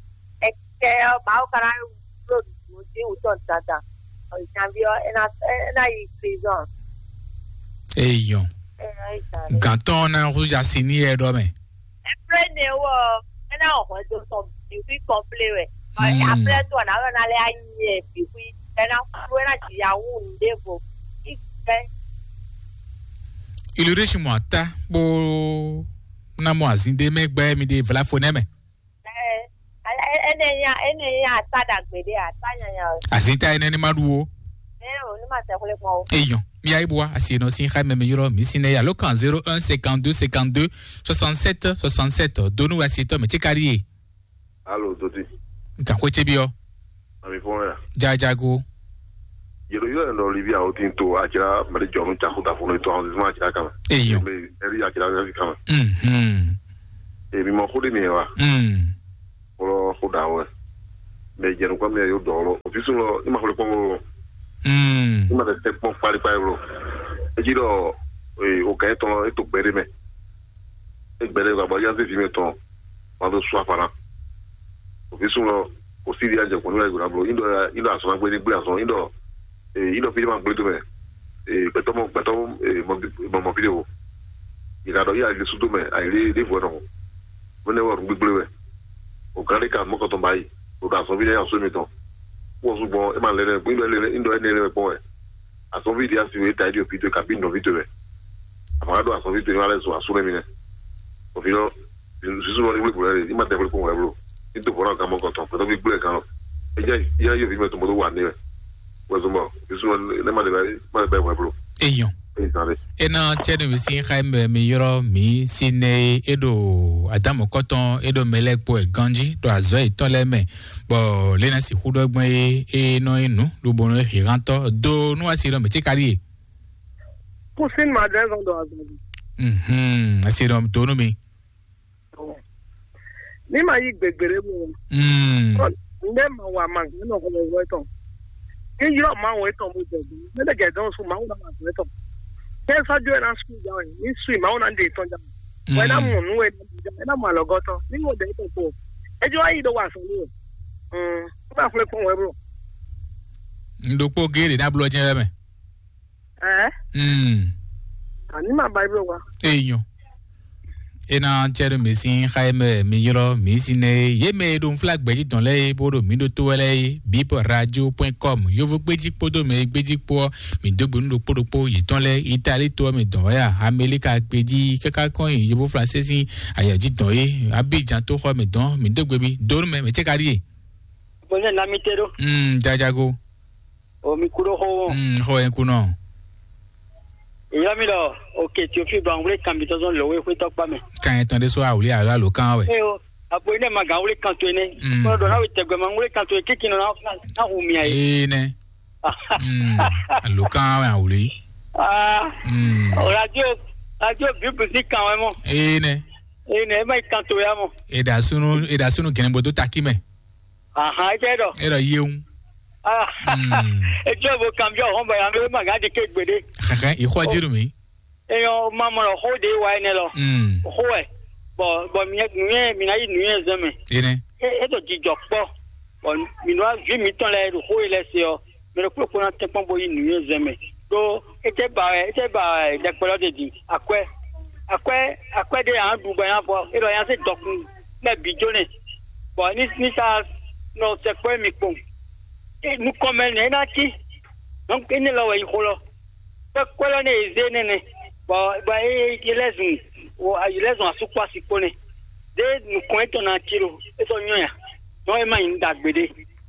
Ekɛ ɔ́ Mawu ka ná bló nǔ dín wǔtɔn dandan. Ɔ janví ɔ́ é ná é ná yi prison. Eyɔn. É ná yi zan. Gantɔn ɔ́ ná húzú asi ní yɛ ɖɔ mɛ. Ɛplɛ́ nɛ wɔ é ná wɔ hwɛndo tɔn bǐ xwí kɔnplé wɛ. Ɔ Mm. Ɛplɛ́ tɔn ná wɛ ná lɛ anyi ɛ bǐ xwí. Ɛ ná kú é ná ji ya wú nǔɖévo. Í gbɛ. Ilurisi mɔ ata kpó ná mɔ azin ɖé mɛ gbɛ mi ɖe vlafo nɛ mɛ. Ɛ ɛ ɛnɛ nya ɛnɛ nya ata ɖagbe ɖé ata nyanya o. Azin ta ɛnɛ ni ma ɖu o. Ɛ o ni ma tɛ xwlé kpɔn o. Eyɔn mi ayi bua asi enɔ sin xa mɛ mi ylɔ mi sin nɛ ya lo kan zéro un cinquante deux cinquante deux soixante sept soixante sept donu asi tɔ mɛ tí ka ɖi ye. Alo, Dodi. Nka xwé ce byɔ. Ami fɔn ya. Jajago. Yelo yɔ yɛ nɔ libi awo tin to akira mali jɔnu caku da funu to awo zuma akira kama. Eyo. Me eri akira kama. Mhm. E mi mɔ xode mi wa. Mm. Olo xo Ɖa wɛ. Mɛ jɛ nukɔn mɛ yóò dɔn lɔ. Òfin sun lɔ, ní ma xwlé kpɔn wolo. Mm. Ní ma tɛ tɛ kpɔn kpali kpali wolo. Eji ɖɔ, ee, o gɛn tɔn lɔ, e to gbɛ ɖe mɛ. E gbɛ ɖe gba bɔ ya se fi mɛ tɔn. Ma do su afana. Òfin sun lɔ, kò sí di ajɛ kɔn ní wàá gbɔdɔ blo. Indɔ, indɔ asɔn agbe ní gblé asɔn. Indɔ, ee, indɔ fi ní ma gblé do mɛ. Ee, gbɛtɔ mɔ, gbɛtɔ mɔ, ee, mɔ, mɔ, mɔ fi de o. Ìlànà yìí àyè sódó mɛ, àyè lé, lé vɔ nɔ. Mɛ ne wɔ nù gbígbé wɛ. O gán ɖé ka mɔ kɔtɔn ba yi. O ka sɔvi ɖe asɔ mi tɔn. Wɔ su gbɔn, e ma lɛ nɛ, gbígbé lɛ, ndɔ e ne lɛ kpɔn wɛ. Asɔvi ɖe asi wɛ, ta ɖi o fi to, ka bi nɔ fi to wɛ. Ama ɖo asɔvi to, ma lɛ sɔ asu lɛ mi nɛ. O fi nɔ, susu nɔ ni wuli gbɔn lɛ, i ma tɛ wuli kpɔn wɛ blo. I to bɔra kan mɔ kɔtɔn, kɔtɔn bi gblɛ kan lɔ. E ja, ya yo fi mɛ to mɔ to wa ne wɛ. Wɛ zɔn bɔ, susu nɔ ne ma de bɛ, ma de bɛ wɛ blo. Eyɔn. Ena cɛɖumi sín xá mɛ mi yrɔ mi si nɛ e ɖo adamu kɔtɔn e ɖo mɛ lɛ kpo ɛ ganji ɖo azɔ yetɔn lɛ mɛ, bɔ lena si xú ɖɔ gbɔn e e nɔ e nu ɖo bɔnɔ e hihantɔ do nu asi ɖɔ mɛ tí kali e. Kusin ma ɖe zɔn ɖo azɔ. Mhm, asi ɖɔ do nu mi. Ní ma yí gbègbèrè mu. Mm. Ndé ma wa ma gbe nɔ xɔlɔ wɛ tɔn. Ní yrɔ ma wɛ tɔn mo jɛ gbe. Mɛ de gɛ dɔn su ma wɛ ma gbe tɔn. Kɛ sɔjɔ ɛ na su ja wɛ. Ní su ma wɛ na de tɔn ja. Wɛ na mu nu wɛ na ja. Ɛ na mu alɔgɔtɔ. Ní mo de tɔn ko. Ɛ jɔ ayi do wa sɔn ni wɛ. Mm. Ba xwle kpɔn wɛ bro. N ɖokpó géɖé ná blɔ jɛ wɛ mɛ. Ɛɛ. Mm. Ani ma ba ibi wa. Eyɔn. Ena cɛɖo mi sín xa e mɛ mi yrɔ mi si nɛ e. Ye mɛ e ɖo nfla gbɛji tɔn lɛ e bó ɖo mi ɖo to wɛ lɛ e, bip radio point com. Yovo gbéji kpódó mɛ gbéji kpó ɔ́, mi dó gbe nú ɖokpó ɖokpó yětɔn lɛ Itali to ɔ́ mɛ dɔn wɛ a, Amelika gbéji káká kɔn nyi yovo flansé sín ayɔ̌ji dɔn e, Abidjan tó xɔ mɛ dɔn mi dó gbe mi dó nú mɛ mɛ cɛ ka ɖíe. Bɔn ne na mi te ɖo. Mm, jajago. O mi kú ɖó xó wɔn. Mm, xó yẹn kú nɔ. Ìyá mi lɔ, òkè tí o fi bá ń wlé kan mi tɔzɔn lɔ wé xwé tɔkpa mɛ. Kan yẹn tɔn ɖé sɔ awuli alo alo kan wɛ. Ee o, àpò iná ma gàn wlé kan tó iná. Mm. Kọ́nà dọ̀ náà wí tẹ̀gbẹ́ ma ń wlé kan tó iná kíkì náà náà hù mí àyè. Ee nɛ. Mm. Alo kan wɛ awuli. Ah. Mm. O radio, radio bíbù sí kan wɛ mɔ. Ee nɛ. Ee nɛ, ẹ má yí kan tó ya mɔ. Eda sunu, eda sunu gɛnɛbɔ dó takí mɛ. Ahan, é jẹ́ ɖɔ. É ɖɔ yéwu. Ah, Mm. Etsɔ bo kan byɔ hɔn bɔ ya mɛ ma gã di ke gbeɖe. Xɛxɛ, ìxɔ jírù mi. Eyɔn ma mɔ lɔ xó de wa enɛ lɔ. Mm. Xó wɛ. Bɔ bɔ mi mi mi na yi nu yɛ zɛn mɛ. Ene. E e to jijɔ kpɔ. Bɔ mi nɔ vi mi tɔn lɛ ɖo xó yi lɛ se ɔ. Mi ɖo kpó kpó na tɛ kpɔn bo yi nu yɛ zɛn mɛ. Ɖó e tɛ ba wɛ, e tɛ ba wɛ ɖɛkpɛ lɔ de di. Akwɛ. Akwɛ akwɛ de yan ɖu bɔ yan fɔ. E ɖɔ yan se dɔkun lɛ bi jó nɛ. Bɔ ní ní sa nɔ sɛkpɔ́ mi kpɔn. E nukɔn mɛ nɛ e ná cí. Donc énɛ́ lɔ wɛ yi xó lɔ. Kpɛ́ kwɛ́ lɔ nɛ e zé nɛnɛ. Bɔ bɔ e e lɛ́ zun o e lɛ́ zun asú kpó asi kpó nɛ. Ɖé nukɔn etɔn ná cí ɖo é sɔ́ nyɔ́ ya. Nɔ é má nyí ɖagbe ɖé.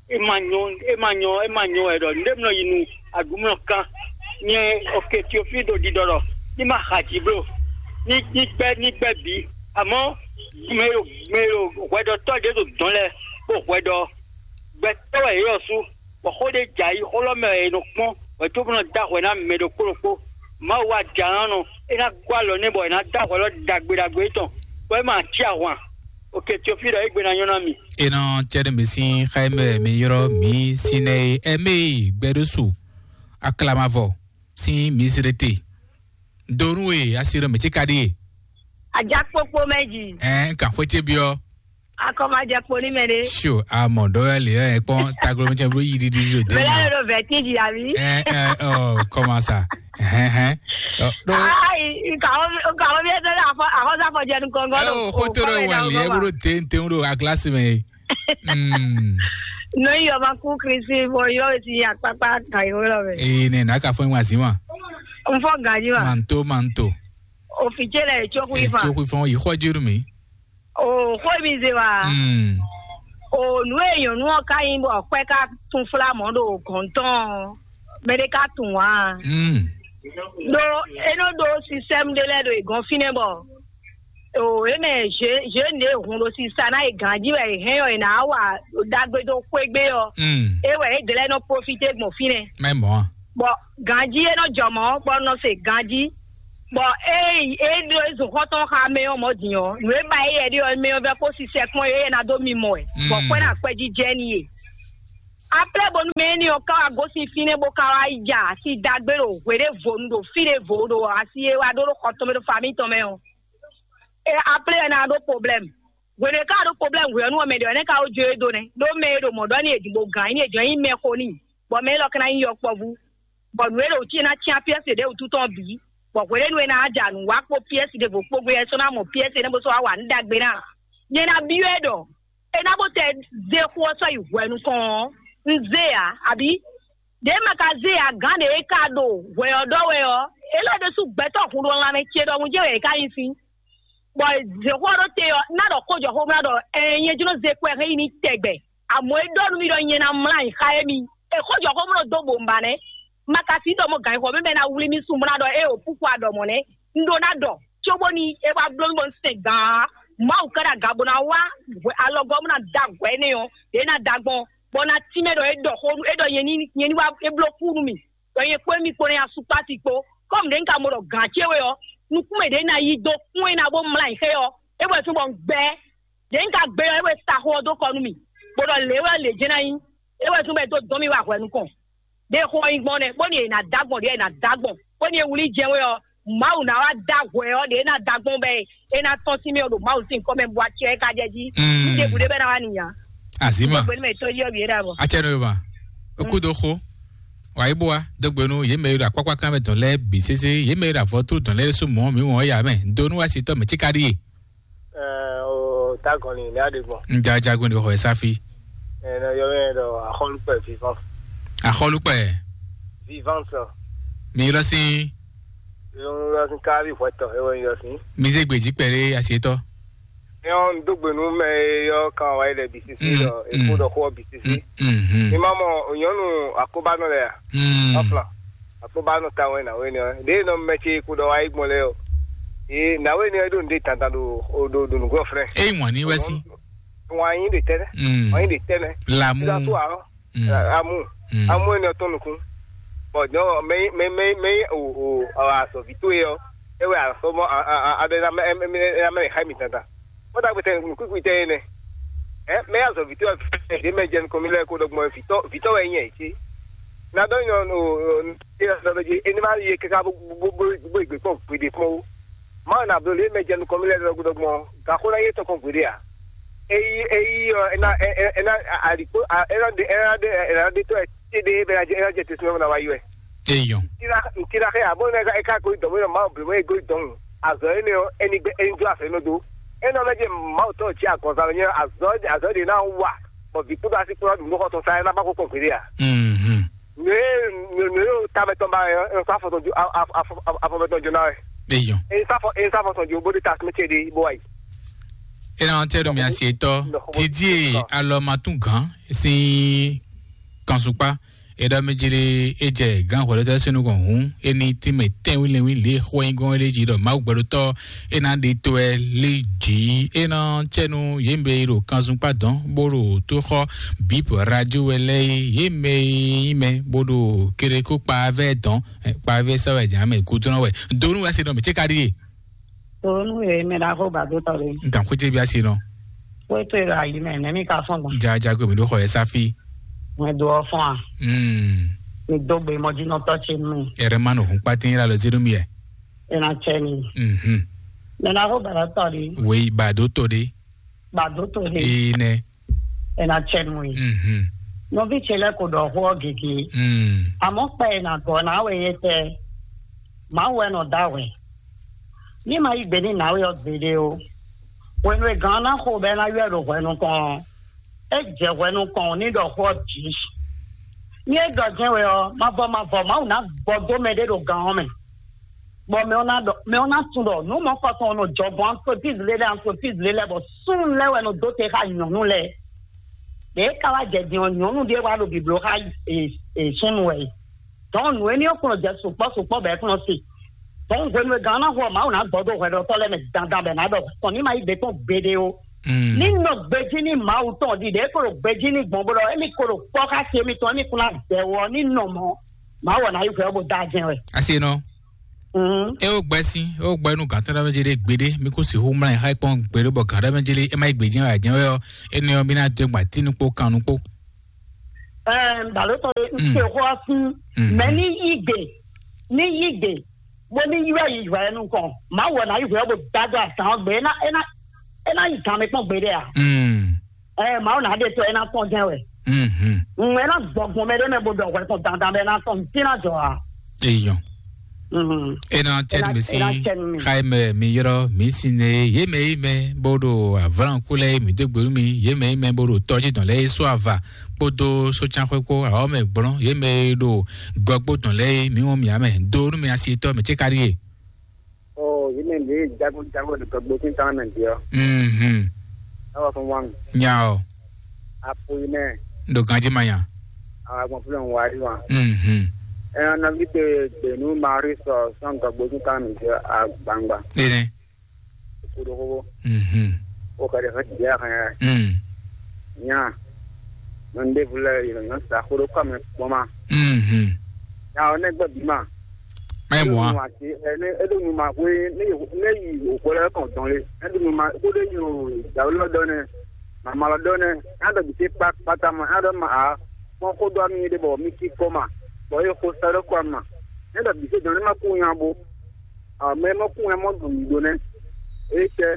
É má nyɔ́ é má nyɔ́ é má nyɔ́ wɛ ɖɔ nǔɖé mlɔ yi nu aɖǔmlɔ kan. Nyɛ oke Teofíli ɖo ɖiɖɔ ɖɔ ní ma xa jǐ bló. Ní ní gbɛ́ ní gbɛ́ bǐ. Àmọ́ mɛ e ɖo mɛ e ɖo hwɛɖɔtɔ́ ɖě ɖo dɔ̌n lɛ́ɛ kpó hwɛɖɔ gbɛtɔ́ wɛ yě ɔ́ sú. Bɔ xó ɖé jɛ ayixó lɔ mɛ wɛ è nɔ kpɔ́n wɛ tó bó nɔ dó ahwɛ ná mɛ ɖokpó ɖokpó. Mawu wá jǎ ná nɔ é ná gɔ́ alɔ nɛ́ bɔ è nǎ dó ahwɛ lɔ ɖagbe ɖagbe étɔn, bɔ é ma cí ahwan. Oke Teofíli ɖɔ égbé ná nyɔ́ ná mi. Enɔ cɛɖɛ mi sín xá mɛ mi yrɔ mi sinɛ e ɛmɛ gbɛɖósu aklamavɔ sín Misirete. Donu e asi ɖɔ mɛ tí ka ɖíe. Ajakpokpo mɛ ji. Ɛn kan xwé ce biɔ. Akɔmajɛ kpo ní mɛ ɖé. Sio amɔ ɖɔ wɛ le ɛ kpɔn taglo mi cɛ blo yi ɖiɖi ɖo de. Mɛ lɛ ɖo vɛtin ji abi. Ɛ ɛ ɔ kɔma sa. Hɛn hɛn. Ɔ ɖo. Ayi nkàwɔ nkàwɔ bí ɛ tẹ́lẹ̀ àfọ́sàfọ́jẹ́ nukọ̀ngọ́. Ɛ o kótó ɖo wà lì ɛ bolo tenten ɖo agilasi mɛ. Mm. Nɔ yi ɔba kú Kristi bɔ yɔ ti akpakpa ka yi wɛ lɔ mɛ. Ee ne na ka fɔ ŋwa zi ma. N fɔ gaji ma. Manto manto. Ofi ce lɛ tso kui fa. Tso kui fɔ yi xɔ juru mi. O xɔ mi ze wa. Mm. O nu e nyɔnu ɔ ka yin bɔ kpɛ ka tun fla mɔ ɖo gɔntɔn mɛ ɖe ka tun wa. Mm. Ɖo enɔ ɖo sisɛmu ɖe lɛ ɖo egɔn finɛ bɔ o e mɛ je je ne hun ɖo sisa na e ganji wɛ e hɛn ɔ e na wa ɖagbe do xwegbe ɔ. Mm. E wɛ e dlɛ nɔ profite gbɔn finɛ. Mɛ mɔ. Bɔ ganji e nɔ jɔ mɔ bɔ nɔ se ganji. Bɔ ée é ɖo ezun xɔtɔn xa mɛ ɔ́ mɔ din ɔ́, nǔ e ba éyɛ́ ɖe ɔ́ mɛ ɔ́ vɛ kó sisɛ kpɔn é ná dó mi mɔ ɛ, bɔ kwɛ ná kwɛ jijɛ n'i e. Aplɛ bónú mɛ énɛ́ ɔ́ ka wá gosín fínɛ́ bó ka wá yi ja asi dagbe ɖo hwe ɖěvo nu ɖo fí ɖěvo ɖo asi e wá ɖó ɖo xɔ tɔn mɛ ɖo fami tɔn mɛ ɔ́, e aplɛ ɔ́ ná ɖó problème. Hwenu e ka ɖó problème hwenu ɔ́, mɛ ɖě ɔ́ nɛ́ ka wó jó e dó nɛ́, ɖó mɛ e ɖo mɔ̌ ɖɔ n'i e din bó gǎn nyi e jɔ̌ nyí mɛ xo n'i, bɔ mɛ élɔ́ ka ná nyí yɔkpɔ́vú, bɔ nǔ e ɖo cí e ná cyán pyɛ́si ɖěbǔ tɔn bǐ, bɔ hwenu e ná ja nǔ wá kpó pyɛ́si ɖěvo kpó gbé ɔ́, é sɔ́ ná mɔ pyɛ́si énɛ́ bó sɔ́ wá wa nǔ ɖagbe ná. Nyɛ ná byɔ́ ɛ ɖɔ é ná bó tɛ zé xó ɔ́ sɔ́ yi hwɛ nukɔn ɔ́, un zé ǎ, abǐ? Ɖěe ma ka zé ǎ, gǎn ɖě e ka ɖo hwɛ ɔ́ ɖɔ wɛ ɔ́, é lɛ́ ɖésú gbɛtɔ́ hun ɖo lanmɛ ce ɖɔhun jɛ́n wɛ è ka nyi sín. Bɔ zěxo ɔ́ ɖo te ɔ́, ná ɖɔ xó jɔ xó mlá ɖɔ ɛɛ nyɛ jló zé kɔ ɛ hɛn yi ní tɛgbɛ. Amɔ̌ é ɖɔ nú mì ɖɔ nyɛ ná mlá nyi xá émí. È xó jɔ xó mlá dó bǒ mba nɛ́. Ma ka sí ɖɔ mɔ gǎn xɔ mɛ ná wlí mì sún mlá ɖɔ é o kúkú a ɖɔ mɔ̌ nɛ́. Un ɖó ná ɖɔ, cóbóni é wá bló mì bɔ un sɛn gǎn. Mawu ka ɖo aga bó ná wá alɔgɔ́ mú ná da hwɛ énɛ́ ɔ́, ɖě ná da gbɔn, bɔ ná tínmɛ ɖɔ é ɖɔ xó é ɖɔ nyɛ ní nyɛ ní wá é bló kú nú mì. Ɖɔ nyɛ kpó émí kpó nɛ́ asukpási kpó. Kɔ́mu ɖě un ka mɔ ɖɔ gǎn ce we ɔ́, nukún mɛ ɖě ná yi dó kún e ná bó mlá nyi xé ɔ́, é wɛ tún bɔ un gbɛ́. Ɖě un ka gbé ɔ́, é wɛ sa xó ɔ́ dó kɔ nú mì, bó ɖɔ lě wɛ lě jɛ́n ná nyí. É wɛ tún bɔ é dó dɔn mì wá hwɛ nukɔn. Ɖě xó ɔ́ nyí gbɔn nɛ́, bóni è nǎ dá gbɔn ɖě è nǎ dá gbɔn, bóni è wlí jɛ́n we ɔ́, Mawu ná wá dá hwɛ ɔ́ ɖě é ná dá gbɔn bɔ é ná tɔ́n sín mì ɔ́ ɖo Mawu sín kɔ́ mɛ bó acɛ é ka jɛ jí. Mm. Ní ɖěbǔ ɖé bɛ́ ná wá nìyá. Azima. Gbogbo ní mɛ tó yí ɔ́ bǐ é ɖa bɔ. Atsɛ nɔ ba. Oku do xo. Wa yi bua dogbe nu ye mɛ yi ɖo akpakpa kan mɛ dɔn lɛ bi sese ye mɛ yi ɖo avɔ to dɔn lɛ so mɔ mi wɔn ya mɛ do nu wa si tɔ mɛ tsika ɖi ye. Ɛɛ, o tagɔn ni ne aɖe gbɔn. N ja jagun de xɔ safi. Ɛɛ, ne yɔ mɛ ɖɔ axɔlukpɛ vivant. Axɔlukpɛ. Vivant. Mi lɔ si. Yɔ sin kavi hwɛtɔ ewɔ yɔ sin. Mi ze gbeji kpɛɖe asietɔ. Yɔ n do gbe nu mɛ yɔ kan wa yi lɛ bi sisi. Mm, dɔ mm. Eko dɔ xɔ bi sisi. Mm, mm, mm. Mi ma mɔ nyɔnu akobanɔ lɛ ya. Mm. Afla. Akpɔ́banɔ tawun wɛ nǎwe nɛ ɔ́ ɖě nɔ mɛ ce kpo ɖɔ wá yi gbɔn lɛ́ɛ ɔ́, ee nǎwe nɛ ɔ́ ɖo nǔɖé dandan ɖo ɖo ɖo nǔgbɔ flɛ́. Eye wǎn ní wɛ sí. Wǎn yí ɖe tɛnɛ. Mm. Wǎn yí ɖe tɛnɛ. Lamu. Sísá tó àárọ̀. Mm. Amu. Mm. Amu ɛni ɔtɔn nukún. Bɔn jɔ mɛ mɛ mɛ mɛ o o azɔvi tó yɛ ɔ́, ewɛ asɔmɔ aɖe na mɛ mɛ mɛ xá mi dandan. Bó dàgbé tẹ nukúkú tẹ yé nɛ. Ɛ mɛ azɔ vitɔ ɖé mɛ jɛ nukɔn mi lɛ kó ɖɔgbɔn vitɔ vitɔ wɛ nyɛ tsi. Na dɔ nyɔ no no ena ma ye kaka bó bó bó bó igbe kpɔn gbede kpɔn wo. Ma na blo le mɛ jɛ nukɔn mi lɛ ɖɔgbɔn ɖɔgbɔn gakó na ye tɔn kɔn gbede a. Eyi eyi ɔ ena ena alikpo ena de ena de ena de tɔ ɛ ti de bɛ ena jɛ te sinɔ na wa yi wɛ. Eyɔn. Ntira ntira xɛ abo ne ka eka ko dɔmɔ yɔ ma blo mo ego dɔn. Azɔ ene o eni gbe eni do afɛ no do. Ena mɛ je ma o tɔ ti agɔnza nyɛ azɔ azɔ de na wa. Bɔ vi kudo asi kura dun nɔkɔ tɔn sa ena ba ko kɔn gbede a. Mhm. Ne ne ne yo ta mɛ tɔn ba yɔ en fa fɔ tɔn jo afɔ mɛ tɔn jo na wɛ. Eyɔn. En sa fɔ en sa fɔ tɔn jo bo de ta sime ce de bo wa yi. Ena tɛ do mi asi etɔ didi alɔ ma tun gan si kansupa. Eɖɔ mɛ jere e jɛ gán hwɛɖɔtɔ sínú gɔn hǔn, e ní tínmɛ tɛ́nwínlɛ́nwín lě xwɛnyígɔ́n lé jí ɖɔ Mawu gbɛɖotɔ́ e ná ɖe tó ɛ lé jí. E ná cɛ́nu yě mɛ e ɖo kanzunpa dɔn bó ɖo tó xɔ bíp radio wɛ lɛ́ɛ é, yě mɛ e nyí mɛ bó ɖo kéɖékó kpaavɛ́ dɔn, kpaavɛ́ sɛ́ wɛ jǎn mɛ gúdúnɔ wɛ. Donu wɛ se nɔ mǐ cé ka ɖíe. Tòónú e mɛ ɖaxó ba dó tɔ ɖe. N tàn kó jé bí a se nɔ. Wétò e ɖo ayi mɛ nɛ́ mi ka fɔn gbɔn. Jajago mi ɖó xɔ yɛ sáfí. Mɛ do ɔ fɔn a. Mm. Mi dó gbe mɔjínɔtɔ ce nú mi. Ɛrɛ ma nɔ hun kpátín yíra lɔ zínú mi yɛ. Ena cɛ mi. Mhm. Mɛ ɖaxó ba dó tɔ ɖe. Wei ba dó tɔ ɖe. Ba dó tɔ ɖe. Ee nɛ. Ena cɛ nú mi. Mhm. Nɔví ce lɛ ko ɖɔ xó ɔ gege. Mm. Àmọ́ kpɛ e nà gɔ́ ná wɛ yé tɛ. Mawu wɛ nɔ da hwɛ. Ní ma yí gbe ní nǎwe ɔ́ gbeɖé ó. Hwenu e gǎn ná xo bɔ é ná ywɛ́ ɖo hwɛ nukɔn ɔ́, é jɛ hwɛ nukɔn ní ɖɔ xó ɔ́ bǐ. Ní é ɖɔ jɛ́n wɛ ɔ́, mavɔ mavɔ Mawu ná gbɔ dó mɛɖé ɖo gǎn ɔ́ mɛ. Bɔ mɛ ɔ́ ná ɖɔ mɛ ɔ́ ná tunwun ɖɔ nǔ mɔ̌kɔtɔn nɔ jɔ gbɔn antrepízi lé lɛ́ɛ antrepízi lé lɛ́ɛ bɔ súnnu lɛ́ɛ wɛ nɔ dó te xá nyɔ̌nu lɛ́ɛ. Ɖě é ka wá jɛ din ɔ́, nyɔ̌nu ɖé wá ɖo bǐbló xá súnnu wɛ. Dɔn nǔ éní ɔ́ kplɔ́n jɛ sukpɔ́ sukpɔ́ bɔ é kplɔ́n se. Dɔn hwenu e gǎn ná hu ɔ́, Mawu ná gbɔ dó hwɛɖɔtɔ́ lɛ́ɛ mɛ dandan bɔ è nǎ ɖɔ tɔn ní ma yí gbe kpɔ́n gbeɖé ó. Ní nɔ gbejí ní Mawu tɔn ɖiɖe é ko ɖo gbejí ní gbɔn bó ɖɔ émí ko ɖo kpɔ́ xá si émítɔn émí kún ná bɛ̌ wɔ ní nɔ mɔ̌. Mawu ɔ́ ná yí hwɛ ɔ́ bó dá jɛ́n wɛ. Asi nɔ. É ó gbɛ́ sín, é ó gbɛ́ nú gǎn tɔn ɖ'é mɛ jélé gbeɖé, mí kún sixú mlá ɛ xá kpɔ́n gbeɖé bɔ gǎn ɖ'é mɛ jélé é má yi gbějɛ́n wɛ ǎ jɛ́n wɛ ɔ́, énɛ́ ɔ́, mí ná dó gba tínú kpó kannú kpó. Ɛɛ, balo tɔn ɖe, n se xɔ ɔ́ sín, mɛ ní yí gbe, ní yí gbe, bó ní ylɔ́ yi hwɛ nukɔn. Mawu wɛ ná yí hwɛ ɔ́ bó dá dó azǎn ɔ́ gbe. É ná, é ná, é ná yi gǎn mɛ kpɔ́n gbeɖé a? Ɛɛ, Mawu ná ɖe to, é ná tɔn jɛ́n wɛ. Ŋun é ná gbɔgbɔn mɛ ɖé mɛ bó ɖɔ hwɛ tɔn dandan mɛ ná tɔn, n tí ná jɔ a? Eyɔn. É ná cɛ nú mi sín xá e mɛ mi ylɔ́ mi sín ne yě mɛ yí mɛ bó ɖo avlánku lɛ́ɛ mǐ dó gbe nú mi, yě mɛ yí mɛ bó ɖo tɔ́jí dɔn lɛ́ɛ yi só ava kpódó sócánxwé kpó awɔ̌ mɛ gblɔ́n, yě mɛ e ɖo gɔgbó dɔn lɛ́ɛ yi mǐ wɔn mǐ amɛ dó nú mi asi tɔ́ mǐ cé ka ɖíe. Ó, yě mɛ ɖě jago jago ɖo gɔgbó sín tán mɛ ɖě ɔ́. Mhm. Ewɔ fún wa mi. Nya ɔ. Apo yi mɛ. Ɖo ganji ma nya. Agbɔn fúnlẹ̀ ń wá rí wa. Mhm. Ẹ nɔví te gbè nú Marie sɔ sɔn gɔgbó sín tán mɛ ɖě agbangba. Ene. Kuɖo xoxo. Mhm. O ka ɖe xɔ jɛ xɛ. Mm. Nya. Nɔ ɖe vlɛ yi nɔ sa xo ɖo kɔ mɛ kpɔn ma. Mhm. Nya o ne gbɛ bi ma. Mɛ mɔ a. Ati ɛ ne e ɖo nu ma ko ne ne yi o ko lɛ kɔn dɔn le. E ɖo nu ma ko ɖe yi o dawu lɔ dɔ ne. Mama lɔ dɔ ne. A ɖɔ bi se kpa kpata ma a ɖɔ ma a. Kpɔn xo dɔ mi ɖe bɔ mi ki kɔ ma. Bɔ e xo sa ɖo kɔ ma. Ne ɖɔ bi se dɔn ne ma ko nya bo. Ame e mɔ kún wɛ mɔ ɖu nǔ ɖó nɛ́. Eye tɛ,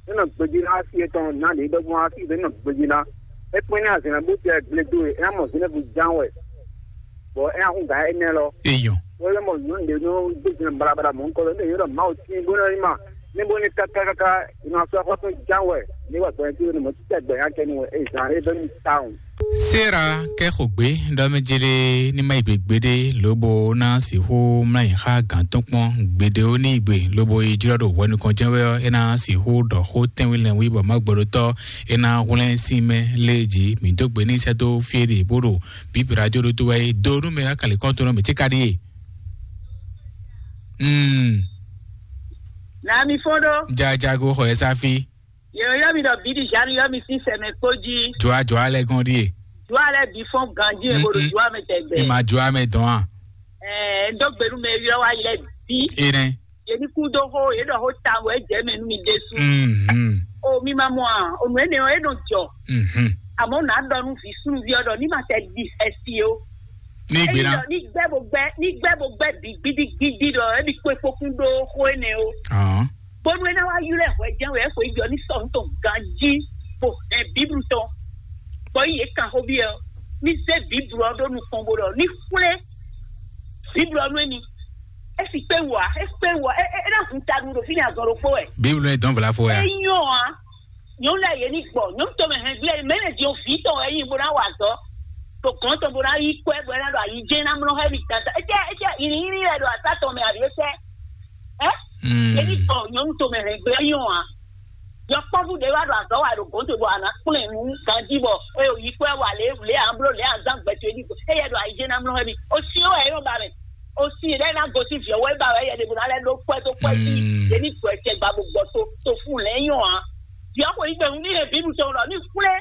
é nɔ gbejí ná asi etɔn ná ɖě ɖɔgbɔn asi ɖě nɔ gbejí ná. É kpɛ́n ní azɛ̌n bó tɛ gble dó e, é ná mɔ Zenɛ́vu ján wɛ, bɔ é ná hún gǎn énɛ́ lɔ. Eyɔn. Bó é mɔ nyɔ̌nu ɖě nɔ dó zɛn balabala mɔ̌ kɔ lɔ, ní yě ɖɔ Mawu tín bó nɔ yi ma, ní bó ní káká káká, è nɔ sɔ́ xɔ́ tɔn ján wɛ, ní wà gbɔn tí ó ní mɔ títí agbɛ̌ nya kɛ nú wɛ, é zǎn é bɛ́ nú tawun. Sera kɛ xo gbe ɖɔ mɛ jele ní ma yi gbegbe ɖe lobo ná sixú mlá yi xa gǎn tɔn kpɔn gbeɖe ó ní gbe lobo yi jlɔ́ ɖo hwɛ nukɔn jɛ́n wɛ ɔ́, é ná sixú ɖɔ xó tɛ́nwí lɛ́nwí bɔ má gbɔɖótɔ́ é ná hwlɛ́n sín mɛ lé jí mǐ dó gbe ní sɛ́ dó fí e ɖe bó ɖo bǐbǐ radio ɖó tó wɛ é dó nú mɛ akali kɔn tó nɔ mǐ cíká ɖíe. Mm. Na mi fɔ́n ɖó. Jajago xɔ ɛ sáfí. Yɛ yɔ mi ɖɔ bíɖi Jean yɔ mi sín sɛmɛ kpó jí. Jɔa jɔa lɛ gɔn ɖíe. Jɔa lɛ bí fɔn ganjí ɛ bolo jɔa mɛ tɛgbɛ. Ìmà jɔa mɛ dɔn a. Ɛɛ, n dó gbenu mɛ yɔ wa yɛ bí. Enɛ. Yɛ ní kú dó xó, yɛ ɖɔ xó ta wɛ jɛ mɛ nú mi ɖésú. Mhm. O mi ma mɔ a, o nù ɛnɛ ɔ, e nɔ jɔ. Mhm. Àmọ́ nà ɖɔ nú vi súnvi ɔ ɖɔ ní ma tɛ di xɛsi o. Ní gbe ná. Ní gbɛ bo gbɛ, ní gbɛ bo gbɛ bi gbidigbidi ɖɔ, ebi kpé kpókún ɖó xó ɛnɛ o. Ahàn. Bónú é ná wá ylɔ́ ɛ hwɛjɛ́n wɛ é xweyǐgbe ɔ́ ní sɔ́ nǔ tɔn ganjí, bó hɛn Bíblu tɔn, bɔ yí yě kan xó byɔ́ ɔ́, ní zé Bíblu ɔ́ ɖó nukɔn bó ɖɔ ní xwlé Bíblu ɔ́ nú émí. É si kpé wú ǎ, é kpé wú ǎ, é é é ná hun taɖu ɖo fínɛ́ azɔn ɖokpó wɛ. Bíblu ɔ́ nyí dɔ̌n vla fó wɛ a? É nyɔ́ ǎ, nyɔ̌nu lɛ́ɛ yě ní gbɔ, nyɔ̌nu tɔn mɛ hɛn gbé mɛ lɛ́ din ví tɔn wɛ é nyí bó ná wa azɔ̌, ɖo gɔ̌n tɔn bó ná yí kwɛ́ bɔ é ná ɖo ayǐjɛ́n ná mlɔ́ xá émí dandan. É cɛ é cɛ yǐnyínyí wɛ ɖo asá tɔn mɛ ǎ ɖě sɛ́. Ɛ? Mm. Yě ní gbɔ nyɔ̌nu tomɛ hɛn gbé nyɔ a? Yɔkpɔ́vú ɖé wá ɖo azɔ̌ wa ɖo gǒdo bɔ a nǎ kplɔ́n ɛ nú ganjí bɔ é yi kwɛ́ wa lě lě a bló lě a zán gbɛtɔ́ é ní gbɔ. Éyɛ́ ɖo ayǐjɛ́ ná mlɔ́ wɛ mi. O si wɛ é nɔ ba mɛ. O si ɖé ná gosín vǐ ɔ́ wɛ ba wɛ yɛ ɖě bó ná lɛ́ ɖó kwɛ́ dó kwɛ́ sí. Mm. Yě ní gbɔ ɛ tɛ gba bó gbɔ to to fún lɛ̌ nyɔ a? Vǐ ɔ́ xo yí gbe hun ní hɛn bǐ nu tɔn ɖɔ ní xwlé.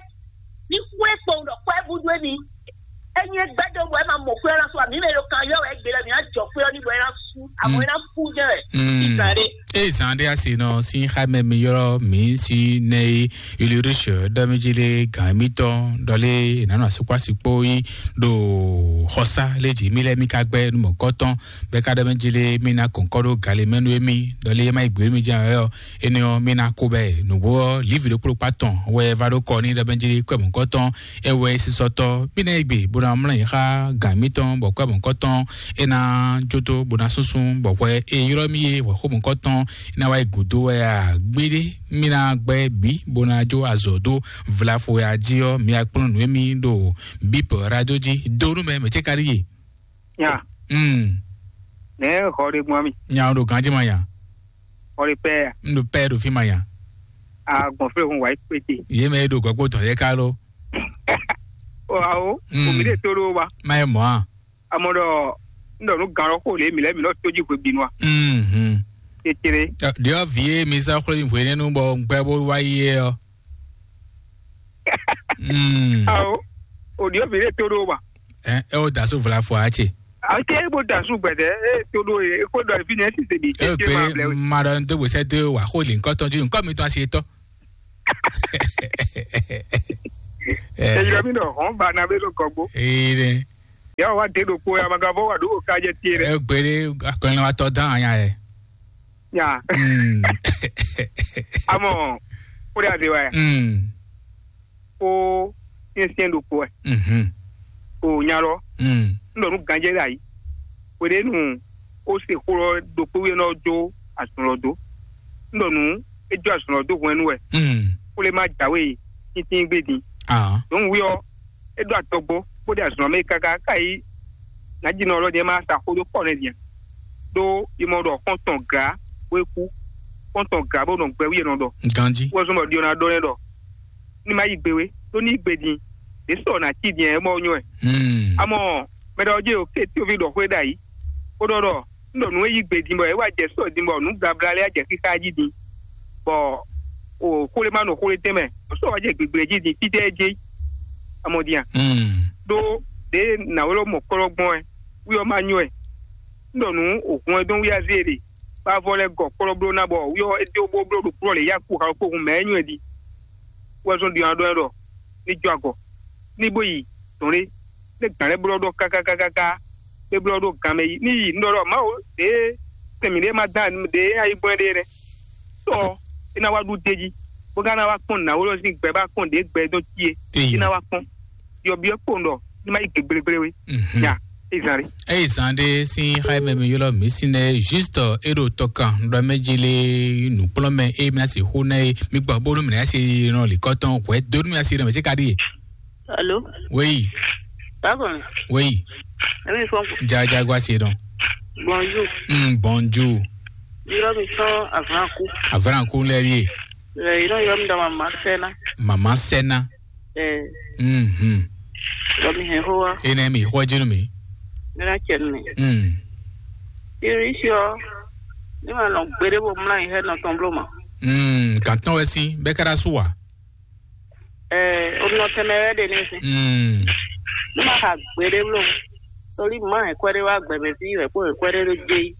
Ní xwlé kpowun ɖɔ kwɛ́ bú dó émí. Enyi e gbɛdɔ bɔ ema mɔ xwé ɔ́ ná sú ami mɛ ɖo kan yɔ wɛ gbe lɛ mi ná jɔ xwé ɔ́ ní bɔ é ná sú amɔ é ná kú jɛ wɛ. Ìgbà ɖe. Eye zan ɖé asi nɔ sín xámɛ mi ylɔ́ mǐ sí nɛ yi Ulrich ɖɔ mí jí lé gǎn émítɔn ɖɔ lé è nǎ nɔ asukpási kpó yi ɖo xɔsá lé jǐ mí lɛ́ɛ mí ka gbɛ́ nú mɔ̌kɔ́tɔn bɛ́ ká ɖɔ mí jí lé mí ná kɔ̌nkɔ́ ɖó galé mɛ nú émí ɖɔ lé é má yi gbě mí jɛ wɛ ɔ́. Énɛ́ ɔ́, mí ná kó bɛ́ nǔgbó ɔ́, Livi ɖokpó ɖokpá tɔn wɛ va ɖó kɔ n'i ɖɔ mɛ jí kwɛ́ mɔ̌kɔ́tɔn, é wɛ sísɔ́tɔ́. Mí ná yi gbe bó ná mlɔ́ yi xá gǎn mítɔn, bɔ kwɛ́ mɔ̌kɔ́tɔn é ná jó dó bó ná súnsún, bɔ hwɛ e ylɔ́ mì é hwɛ̌xó mɔ̌kɔ́tɔn é ná wá yi gǔdo wɛ a? Gbéɖé, mí ná gbɛ́ bǐ bó ná jó azɔ̌ dó vlafo ya jí ɔ́, mi wá kplɔ́n nǔ émí ɖo bíp radio jí. Do nú mɛ, mɛ cé ka ɖíe? Nya. Mm. Nɛ xɔ ɖe gbɔn mi. Nya o ɖo ganji ma nya. Xɔ ɖe pɛ. N ɖo pɛ ɖo fi ma nya. A gbɔn fɛ hun wa yi kpete. Ye mɛ e ɖo gɔgbo tɔn ye ka lo. O awo. Mm. O mi de to ɖo wa. Ma ye mɔ a. Amɔ ɖɔ n ɖɔ nu gan lɔ xo le mi lɛ mi lɔ to ji hwe bi nua. Mhm. Tetere. Ɖiɔ vi ye mi sa xwle hwe nenu bɔ gbɛ bo wa yi ye ɔ. Mm. Awo. O ɖiɔ vi de to ɖo wa. Ɛ ɛ o da so vla fo a ce. Ake bó da su gbɛdɛ, e to ɖo e xó ɖɔ efi nɛ sise bi. E tete ma blɛ gbére we. Ma ɖɔ n dó gbèsè dó wà xó lè ŋkɔ tɔn ju ŋkɔ mi tɔn asi tɔ. Eyɔ mi nɔ hɔn ba na be ɖo kɔgbo. Ee ɖe. Ya wa de ɖo kpo ya ma ka fɔ wa ɖo ka jɛ tie ɖe. E gbére akɔnlɛwatɔ dán anya yɛ. Ya. Mm. Amɔ, o de ase wa ya. Mm. Ko syɛnsyɛn ɖokpo wɛ. Mhm. O nya lɔ. Mm. N ɖɔ nú ganjɛ ɖe ayi. Hweɖénu ó se xó lɔ ɖokpó wíyɛ́ nɔ jó azɔn lɔ dó. N ɖɔ nú é jó azɔn lɔ dó hwɛnnu wɛ. Mm. Xwlé má jǎwe tíntín gbé din. Ah. Dɔ̌n wí ɔ́, é ɖó atɔgbó, bó ɖe azɔn mɛ káká ká yi. Nǎjínɔ ɔ́ lɔ ní é má sa xó dó kpɔ́ nɛ́ din. Ɖó yi mɔ ɖɔ xɔ́ntɔn glǎ bó é kú. Xɔ́ntɔn glǎ bó nɔ gbɛ wí è nɔ ɖɔ. Ganjí. Wɔ zɔn bɔ ɖiɔ ná ɖɔ nɛ́ ɖɔ ní ma yí gbe wé, ɖó ní yí gbe din, ɖě sɔ nǎ cí din ɛ mɔ nyɔ́ ɛ. Hmm. Amɔ mɛ ɖɔ jɛ o ké tí o fi ɖɔ xwé ɖ'ayǐ, bó ɖɔ ɖɔ un ɖɔ nǔ e yí gbe din bɔ é wá jɛ sɔ din bɔ nǔ blabla lɛ́ɛ jɛ xíxá jí din, bɔ o xwlé ma nɔ xwlé tɛn mɛ, o sɔ wá jɛ gbigble jí din fítɛ́ é jɛ. Amɔ din a? Hmm. Ɖó ɖě nǎwlɔ́ mɔ kplɔ́ gbɔn ɛ, wí ɔ́ ma nyɔ́ ɛ. Un ɖɔ nǔ o hɔn ɛ dɔn wí azé ɖe, bá vɔ lɛ́ gɔ kplɔ́ bló ná bɔ wí ɔ́ é dó bó bló ɖo kplɔ́ lě yá kú xalɔ kpó hun mɛ é nyɔ́ ɛ din. Wɛ zɔn ɖi ɔ́ ɖɔ ɛ ɖɔ ní jó agɔ, ní bó yi dɔn ɖé, ní gǎn lɛ́ɛ blɔ́ ɖɔ kákákákáká, é blɔ́ ɖó gan mɛ yi ní yi nú ɖɔ ɖɔ Mawu ɖě sɛn mǐɖée ma dán ɖě ayǐgbɔ́n ɖé nɛ́. Sɔ é ná wá ɖu d'é jí, bó ka ná wá kpɔ́n nǎwó lɔ sín gbɛ bá kpɔ́n ɖě gbɛ dɔn cí é. Éyi. É ná wá kpɔ́n. Yɔ byɔ́ kpowun ɖɔ ní ma yi gbe gblégbléwé. Mhm. Nya é zan ɖé. Eyi zan ɖé sín xá mɛ mi ylɔ́ mǐ sín nɛ juste é ɖo tɔkan ɖɔ mɛ jí lé nǔkplɔ́nmɛ é mi asi xó ná é mi gbɔ bónú mi ná asi nɔ lǐkɔtɔn hwɛ dónú mi asi nɔ mɛ tí ka ɖíe. Alo. Wéyi. Bákan. Wéyi. Èmi fɔ. Jajago asi nɔ. Bonjour. Mm, bonjour. Ylɔ́ mi sɔn avlanku. Avlanku lɛ ɖíe. Ylɔ́ ylɔ́ mi dɔ mama sɛna. Mama sɛna. Ɛɛ. Mhm. Lɔ mi hɛn xó wa. Ene mi xɔ jenu mi. Mira cɛ mi. Mm. Iri si ɔ. Ni ma nɔ gbede bo mla yi hɛ nɔ tɔn blo ma. Mm, gantɔn wɛ si bɛ kɛra su wa. Ɛɛ, o nɔ tɛmɛ wɛ de ne si. Mm. Ni ma xa gbede blo. Toli ma hɛn kwɛde wa gbɛmɛ fi hɛ ko hɛn kwɛde do je yi.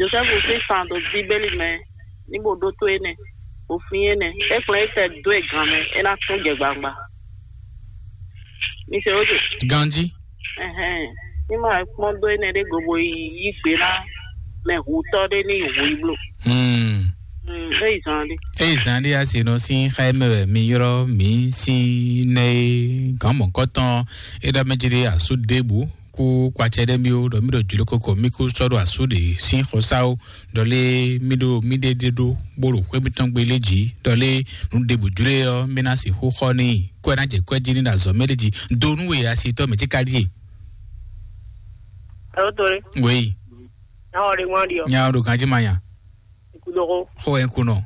Josɛfu sín fan dó Bíbélì mɛ, ní bó ɖótó énɛ́, bó flín énɛ́. É kplɔ́n é tɛ dó e gan mɛ, é ná tún jɛ gbangba. Mi se ó dě. Ganjí. Ɛhɛn. Ní ma kpɔ́n dó énɛ́ ɖé go bo yi yí gbe ná mɛ hutɔ́ ɖé ní hu yi bló. Hmm. Hmm, é yi zan ɖé. Eyi zan ɖé asi nɔ sín xá mɛ wɛ mi ylɔ́ mǐ sín nɛ é gǎn mɔ̌kɔtɔn é ɖɔ mɛ jí ɖé asú ɖěbǔ kú kpatsɛ ɖé mì ó ɖɔ mì ɖo jlǒ koko mì kú sɔ́ ɖo asú ɖě sín xɔsá ó ɖɔ lé mì ɖo mì ɖe ɖe ɖó bó ɖo xwé mìtɔn gbe lé jǐ ɖɔ lé nǔ ɖěbǔ jlé ɔ́ mì ná sixú xɔ n'i kɔ́ ɛ ná jɛ kɔ́ ɛ jí ní ɖo azɔ̌ mɛ ɖé jí do nú we asitɔ́ mɛ tí ka ɖíe. Alo tore. Wéyi. Nyawɔ ɖe ŋwan ɖi ɔ. Nya ɖo ganjí ma nya. Ikudɔgɔ. Xɔ ɛ kunɔ.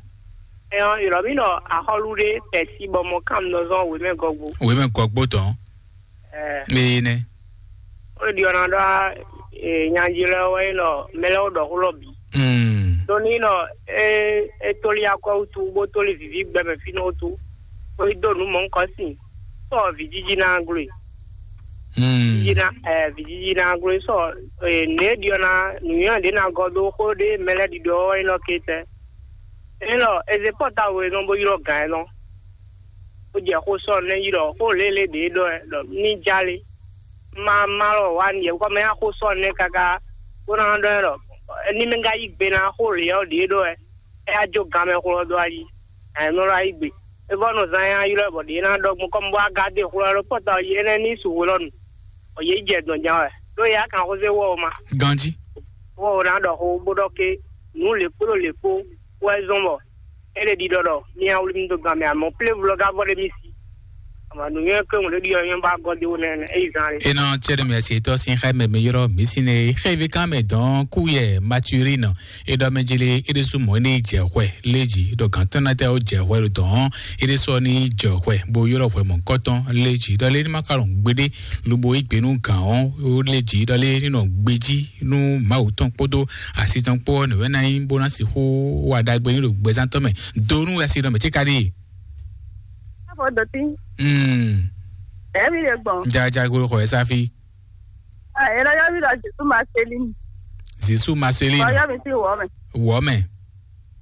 Ɛyɔ, yɔrɔ mi nɔ axɔlu ɖe pɛsi bɔ mɔ kam nɔ zɔn wemɛ gɔgbo. Wemɛ gɔgbo tɔn. Ɛɛ. Mɛ yi nɛ. O ɖi ɔna ɖɔ ee nyanji lɛ wɛ nɔ mɛlɛ wo ɖɔ xulɔ bi. Mm. Doni nɔ e e toli akɔ wutu bo toli vivi gbɛmɛ fi nɔ wutu. O yi do nu mɔ nkɔ sin. Sɔ vijiji na glo. Mm. Vijiji na ɛ vijiji na glo sɔ ee ne ɖi ɔna nuyɔ ɖe na gɔ do xo ɖe mɛlɛ ɖiɖɔ wɛ nɔ ke tɛ. Enɔ eze pɔtawo e nɔ bo ylɔ gǎn e nɔ. Ó jɛ xó sɔ nɛ ylɔ xó lélé ɖě ɖɔ ɛ ɖɔ ní jálé. Má má lɔ wá ní yɛ kɔ mɛ yá xó sɔ nɛ káká bó ná ɖɔ ɛ ɖɔ ní mɛ ká yí gbe ná xó lě ɔ́ ɖě ɖɔ ɛ. É yá jó gan mɛ xó lɔ dó ayi. Ɛ nɔ lɔ ayi gbe. É vɔ nɔ zán yá ylɔ bɔ ɖě ná ɖɔ gbɔn kɔmi bó wá gá dé xó lɔ ɖo pɔta ɔ yi énɛ́ ní su hwe lɔ nu. Ɔ yě jɛ dɔn jan wɛ. Ɖó yá kan xó zé wɔ ma. Ganjí. Wɔ ná ɖɔ xó bó ɖɔ ké nǔ lě kpó ɖo lě kpó wɛ zɔn bɔ é ɖe ɖiɖɔ ɖɔ mía wlí mi dó gan mɛ amɔ plévu lɔ gá vɔ ɖé mi si. Ama nǔnywɛ́ kpé ŋun ɖé ɖiɖɔ nyɔ́ bá gɔ́ dé wó nɛnɛ é yi zan lé. Ena tsɛɖɛ mɛ se tɔ sin xɛ mɛ mi yɔrɔ mi sin ne xɛ vi kan mɛ dɔn ku yɛ maturine e ɖɔ mɛ jele e ɖe su mɔ ne jɛ xwɛ leji ɖɔ gantɔ na tɛ o jɛ xwɛ ɖo dɔn e ɖe sɔ ni jɛ xwɛ bo yɔrɔ xwɛ mɔ kɔtɔn leji ɖɔ le ni ma ka lɔn gbede lobo yi gbenu gan o leji ɖɔ le ni nɔ gbeji nú Mawu tɔn kpódó asi tɔn kpó ɔ́, nǔwɛ ná nyí bó ná sixú wa ɖagbe ní ɖo gbɛzán tɔn mɛ. Do nú asi nɔ mɛ tí ka ɖi. Afɔ dɔtí. Mm. Ɛmi ɖe gbɔn. Jaja gbolo xɔ ɛ sáfi. Ayé lɔ yɔ mi lɔ Jésù Marceline. Zisu Marceline. Lɔ yɔ mi sí wɔ mɛ. Wɔ mɛ.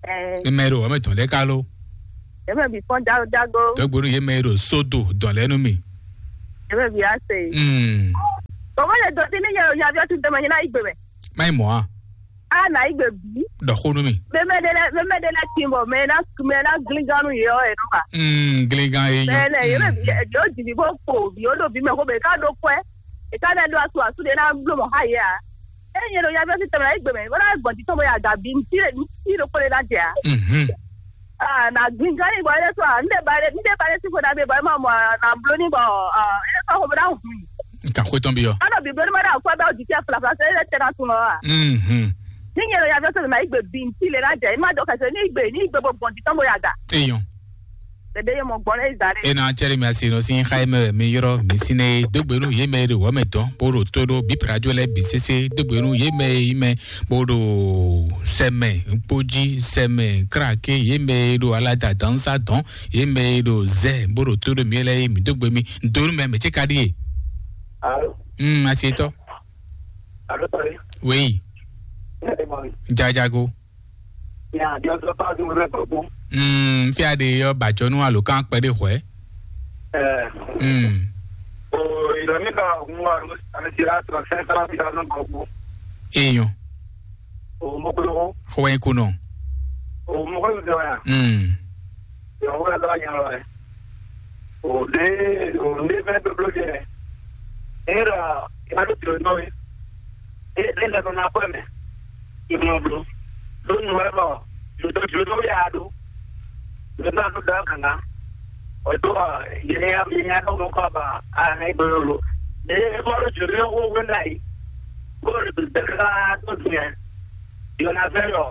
Ɛ, Eme ɖo wɔ mɛ tɔn ɖe ka lo. Eme bi fɔn jago jago. Dɔgbonu ye mɛ ɖo sodo dɔn lɛ nu mi. Eme bi ase. Mm. Bɔbɔ le dɔ ti ni nyɛ o yavi ɔtí dɛmɛ nyina igbe mɛ. Mai mɔ a. A na igbe bi. Dɔ xo nu mi. Mɛmɛ de lɛ mɛmɛ de lɛ tin bɔ mɛ na mɛ na glingan nu yɔ ɛ nu ma. Mm, glingan ye nyɔ. Mɛ lɛ ye mɛ bi yɔ jibi bɔ ko bi o do bi mɛ ko bɛ ka do kwɛ. E ka lɛ do asu asu de na blo mɔ ha ye a. E nyɛ do yavi ɔtí dɛmɛ igbe mɛ. Wala gbɔn ti tɔn bɔ ya ga bi nti nti do kpɔle na jɛ a. Mhm. Ah, na gbingán yìí wọlé tó à ń dé balẹ̀ ń dé balẹ̀ sí fúnra mi bọ̀ ẹ máa mọ̀ nà bló ní bọ̀ ẹ sọ fún mi náà hùn. Nka xwé tɔn bi yɔ. Kánò bí bló ní ma dà kó ẹ bá òjì tí ẹ fìlà fìlà sẹ́yìn lẹ́tẹ̀ náà tún lọ. Mhm. Ní yẹn lọ yà fẹ́ sọ̀rọ̀ náà ìgbè bí ntí lè lájẹ ẹ má dọ̀ kẹsẹ̀ ní ìgbè ní ìgbè bọ̀ bọ̀ ntí tán bóyá gà. Eyɔn. Bẹ̀bẹ̀ yẹn mọ̀ gbọ́n lẹ́yìn zàrẹ́. Ena cɛri mi asi nɔ si xa mɛ mi yɔrɔ mi si ne dogbe nu ye mɛ de wɔ mɛ dɔn boro to do bi prajo lɛ bi sese dogbe nu ye mɛ yi mɛ boro sɛmɛ kpodzi sɛmɛ krake ye mɛ do alada dansa dɔn ye mɛ ɖo zɛ bó ɖo tó ɖo mì lɛ mi dó gbe mi donu mɛ mɛ tse ka ɖie. Alo, mm, asietɔ. Alo, tɔri. Oui. Ɛ, mɔ mi. Jajago. Ya, jɔ sɔ pa du mɛ gbogbo. Mm, fia de yɔ bajɔnu alo kan kpɛ de hwɛ. Ɛ. Mm. O, ìlọ mi ka ŋun wa ro, àmì ti ra tɔ sɛ sara mi ka nɔ gbogbo. Eyan. O, mo klo. Xɔ wɛ ko nɔ. O, mo klo dɔ ya. Mm. Yɔn wɛ lɔ yan lɔ. O de o de fɛn blóbló jɛ. E ɖɔ e ma ɖo jlǒ nɔ we. E e lɛ nɔ na kɔe mɛ. E mɔ bló. Ɖo nu wɛ bɔ jlǒ jlǒ nɔ we a ɖo. Jlǒ nɔ a ɖo da ganga. O do ɔ yɛ ya yɛ ya ɖo nɔ kɔ ba a na e gbɛ lo. E e mɔ ɖo jlǒ nɔ wo we na yi. Ko ɖo dɛka to dun yɛ. Yɔnazɛ́n ɔ́,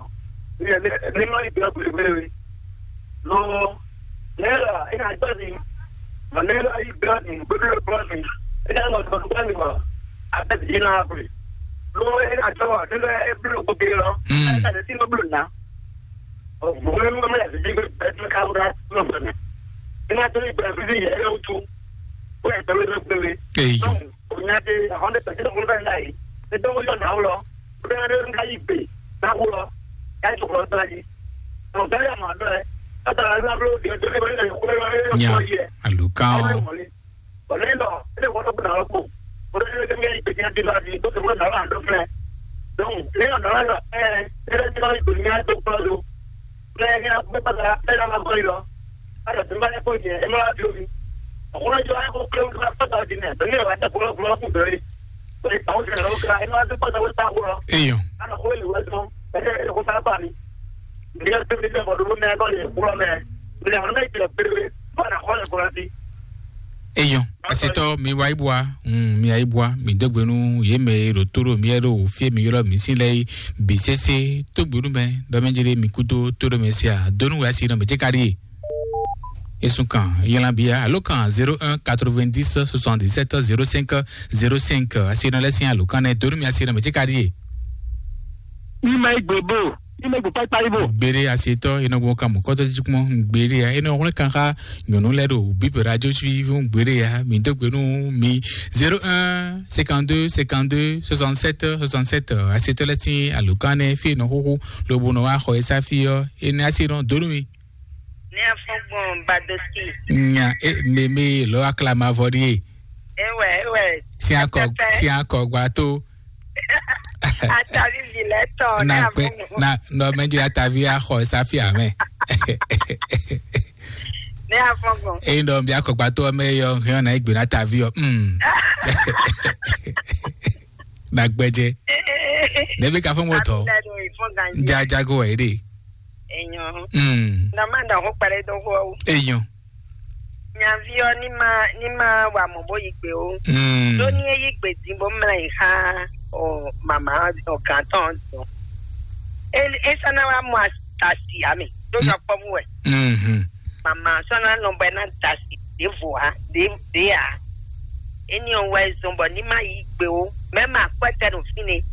ní ní ní nɔ yi dɔ̌ gběgbé we. Lo nɛ̌ ɖɔ é ná gbɛ́ mi? Mɔ nɛ̌ ɖɔ yi gbɛ́ mi, gbégbé gbɛ́ mi, é ná lɔ dɔ̌ gbɛ́ mi mɔ, a bɛ́ bǐ ná gbe. Lo é ná jɔ wɔ, nínú é bló gbogbo lɔ, Mm. é ná lè sí nɔ bló ná. Ɔ, gbogbo lɔ mɛ lɛ sí gbé bɛ́ tó ká wúrà tó nɔ gbɛ mɛ. É ná tó yi gbɛ fífi yɛ é wútu, ó yɛ gbɛ wé gbé wé. Eyɔ. Nya de ahɔn ɖe pɛtɛ ko fɛn da yi. Ne dɔn ko yɔ na wulɔ. Ko bɛ ne ka yi gbe na wulɔ. Ya yi to kɔlɔ sira ji. Ɔ bɛ ya ma dɔ ɛ. Ata la na blo de de ko ne ko ne ko Nya ye. Alukan o. Ɔ ne dɔ ne ko to na ko. Ko ne ne ke yi gbe nya di la di ko to ko na la do fɛ. Donc ne yɔ na la ɛ ne de ko yi gbe nya do ko do. Bẹ́ẹ̀ ni a gbé pátá bẹ́ẹ̀ náà máa gbọ́ yìí lọ. A lọ sí bá yẹ kó jẹ, ẹ máa fi omi. Ọ̀pọ̀lọpọ̀ jọ ayé kó pé wọ́n bá pátá di nẹ̀, bẹ́ẹ̀ ni ọ̀rọ̀ ajá kúrò kúrò kù bẹ̀rẹ̀. Ó lè tàwọn ìṣẹ̀lẹ̀ lọ́wọ́ ká, ẹ máa gbé pátá wọ́n sá kúrò. Eyàn. A lọ kó èlò wẹ́ tán, ẹ jẹ́ ẹ kó sára bá mi. Ǹjẹ́ ẹ tẹ́lẹ̀ bẹ́ẹ̀ bọ̀dọ̀ ló mẹ́ ẹ kọ́ lè kúrò mẹ́? Ǹjẹ́ àwọn náà ìpìlẹ̀ péré, wọ́n nà kọ́ lè kúrò sí. Eyàn. Asetɔ mi wa ibua, mm, mi wa ibua, mi dɔgbenu ye mɛ ɖo to ɖo mi ɖo fie mi yɔlɔ mi si lɛ yi bi sese to gbenu mɛ dɔ mɛ jere mi kudo to ɖo mɛ sia donu wa si nɔ mɛ jɛ kari ye. Esun kan yɛlɛ bia alo kan zéro un quatre-vingt-dix soixante-dix-sept zéro cinq zéro cinq asi nɔ lɛ sin alo kan nɛ donu mi asi nɔ mɛ jɛ kari ye. Ima igbe bo, ima igbe kpakpa ibo. Gbére asetɔ enɔgbɔn kan mɔ kɔtɔ jikmɔ gbére ya enɔ wlɛ kan xa nyɔnu lɛ ɖo bíbélì radio suivi gbére ya mi dó gbenu mi zéro un cinquante-deux cinquante-deux soixante-sept soixante-sept asetɔ lɛ tin alokan nɛ fi nɔ xoxo lobo nɔ wa xɔ esa fi ɔ ene asi nɔ donu mi. Ní afɔgbɔn Badoski. Nya e meme lɔ aklamavɔ ɖie. Ewɛ ewɛ. Siakɔ siakɔ gba to. Atavi vi lɛ tɔ ne na kpe avɔgbɔn. Na nɔ mɛ dzi atavi axɔ safi amɛ. Ne avɔgbɔn. Eyi nɔ bi akɔgbatɔ mɛ yɔ hɛn na egbe na atavi ɔ. Mm. Na gbɛdze. Ne bi ka fɔ mo tɔ. Jajago wɛ de. Enyo. Mm. Na ma da ho kpɛrɛ do ho. Enyo. Nyavi ɔ ní ma ní ma wa mɔ bó yi gbe o. Mm. Ɖó ní é yí gbe dín bó mlá yi xá ɔ mama ɔ gǎn tɔn dɔn. É é sá ná wá mɔ asi amì ɖó nyɔkpɔ́vú wɛ. Mhm. Mama sɔ́ ná nɔ bɔ é ná da asi ɖěvo ǎ ɖě ɖě ǎ. Éní ɔ́ wɛ zɔn bɔ ní ma yí gbe o. Mɛ̌ ma akwɛ́ tɛ ɖo fínɛ́.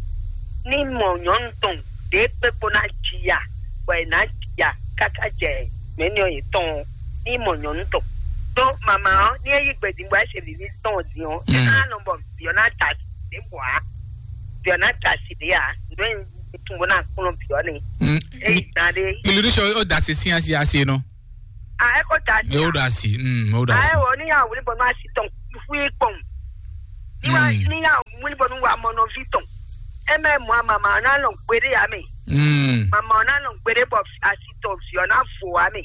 Ní mɔ nyɔ̌nu tɔn ɖě kpékpo ná ji ya bɔ è nǎ ya káká jɛ mɛ̌ nyɔ yětɔn ɔ́, ní mɔ nyɔ̌nu tɔn. Ɖó mama ɔ́, ní é yí gbe din bɔ é se vǐví tɔn ɔ́ din ɔ́, é ná nɔ bɔ vǐ ɔ́ ná da asi. ɖěbǔ ǎ. Bǐ ɔ́ ná da asi ɖě ǎ. Nǔ e un tunwun bó ná kplɔ́n bǐ ɔ́ nɛ́. Mm, Ényí mi- zan ɖé. Illusion, ó da asi sín asi asi nɔ. A eko da asi. Ɛ, ó da asi. Mm, ó da asi. Ayi wɔ ní yà wuli bɔ nɔ asi tɔn fúi kpɔn. Ní wà Mm. ní yà wuli bɔ nɔ wà mɔ nɔvi tɔn. Ɛ mɛ mɔ mama ɔ́ ná lɔn gbéɖé yà mɛ. Mm. Mama ɔ́ ná lɔn gbéɖé bɔ asi tɔn fi ɔ́ ná vo wà mɛ.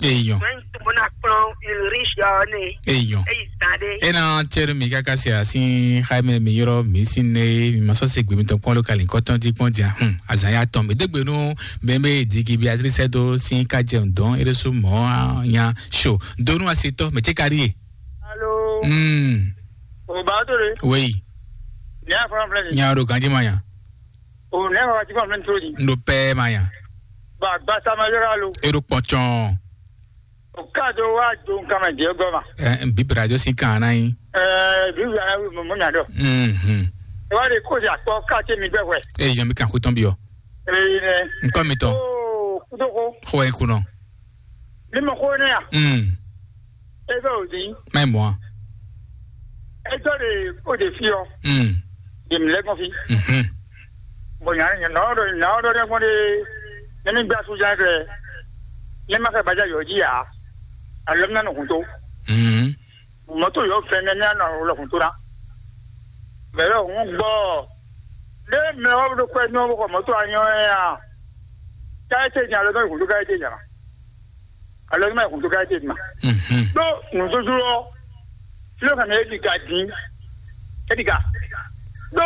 Eyɔn. Mɛ tó bó ná kplɔn ilrisi ɔ́ nɛ. Eyɔn. Eyi zan ɖé. E na tsɛɖu mi kaka si asi xaimɛ mi yɔrɔ mi si ne mi ma sɔ se gbe mi tɔn kpɔn lo kali kɔtɔn di kpɔn dia. Hmm. Azan ya tɔn mi degbe nu. Bɛnbɛ digi Beatrice do sin ka jɛ dɔn eresu mɔ nya so donu asitɔ mɛ tse kari ye. Alo. Mm. O ba to de. Wei. Nya fɔlɔ filɛ ni. Nya do ganji ma nya. O ne fa ti fɔlɔ filɛ ni to di. Ndo pɛ ma nya. Ba gba sama yɔrɔ alo. Edo kpɔtsɔn. O ka do wa do nkan ma jɛ gɔ ma. Ɛ, bi brajo sin kan na yi. Ɛ, bi wa mo mo nya dɔ. Mhm. E wa de ko ya kpɔ ka te mi gbɛ hwɛ. E yan mi kan ko tɔn bi o. Ee, nɛ. Nkɔ mi tɔn. Oo, kudoko. Xɔ e kunɔ. Mi mɔ xó nɛ a? Mm. E bɛ o di. Mɛ mɔ. E tɔ de o de fi ɔ. Mm. De mi lɛ kɔn fi. Mhm. Bon, nya nya na ɔdɔ na ɔdɔ ne kɔn de. Ne mi gba su jan fɛ. Ne ma fɛ baja yɔ ji a. Alɔ mi na nɔ kun to. Mhm. Mɔto yɔ fɛn ne mi na nɔ lɔ kun to na. Mɛ yɔ hun gbɔ. Ne mɛ wa do kwɛ nyɔ bɔ mɔto anyɔ ya. Ka ete nya lɔ dɔ kun to ka ete nya. Alɔ ma kun to ka ete ma. Mhm. Do nuzuzulɔ. Filo kan e di ka din. E di ka. Do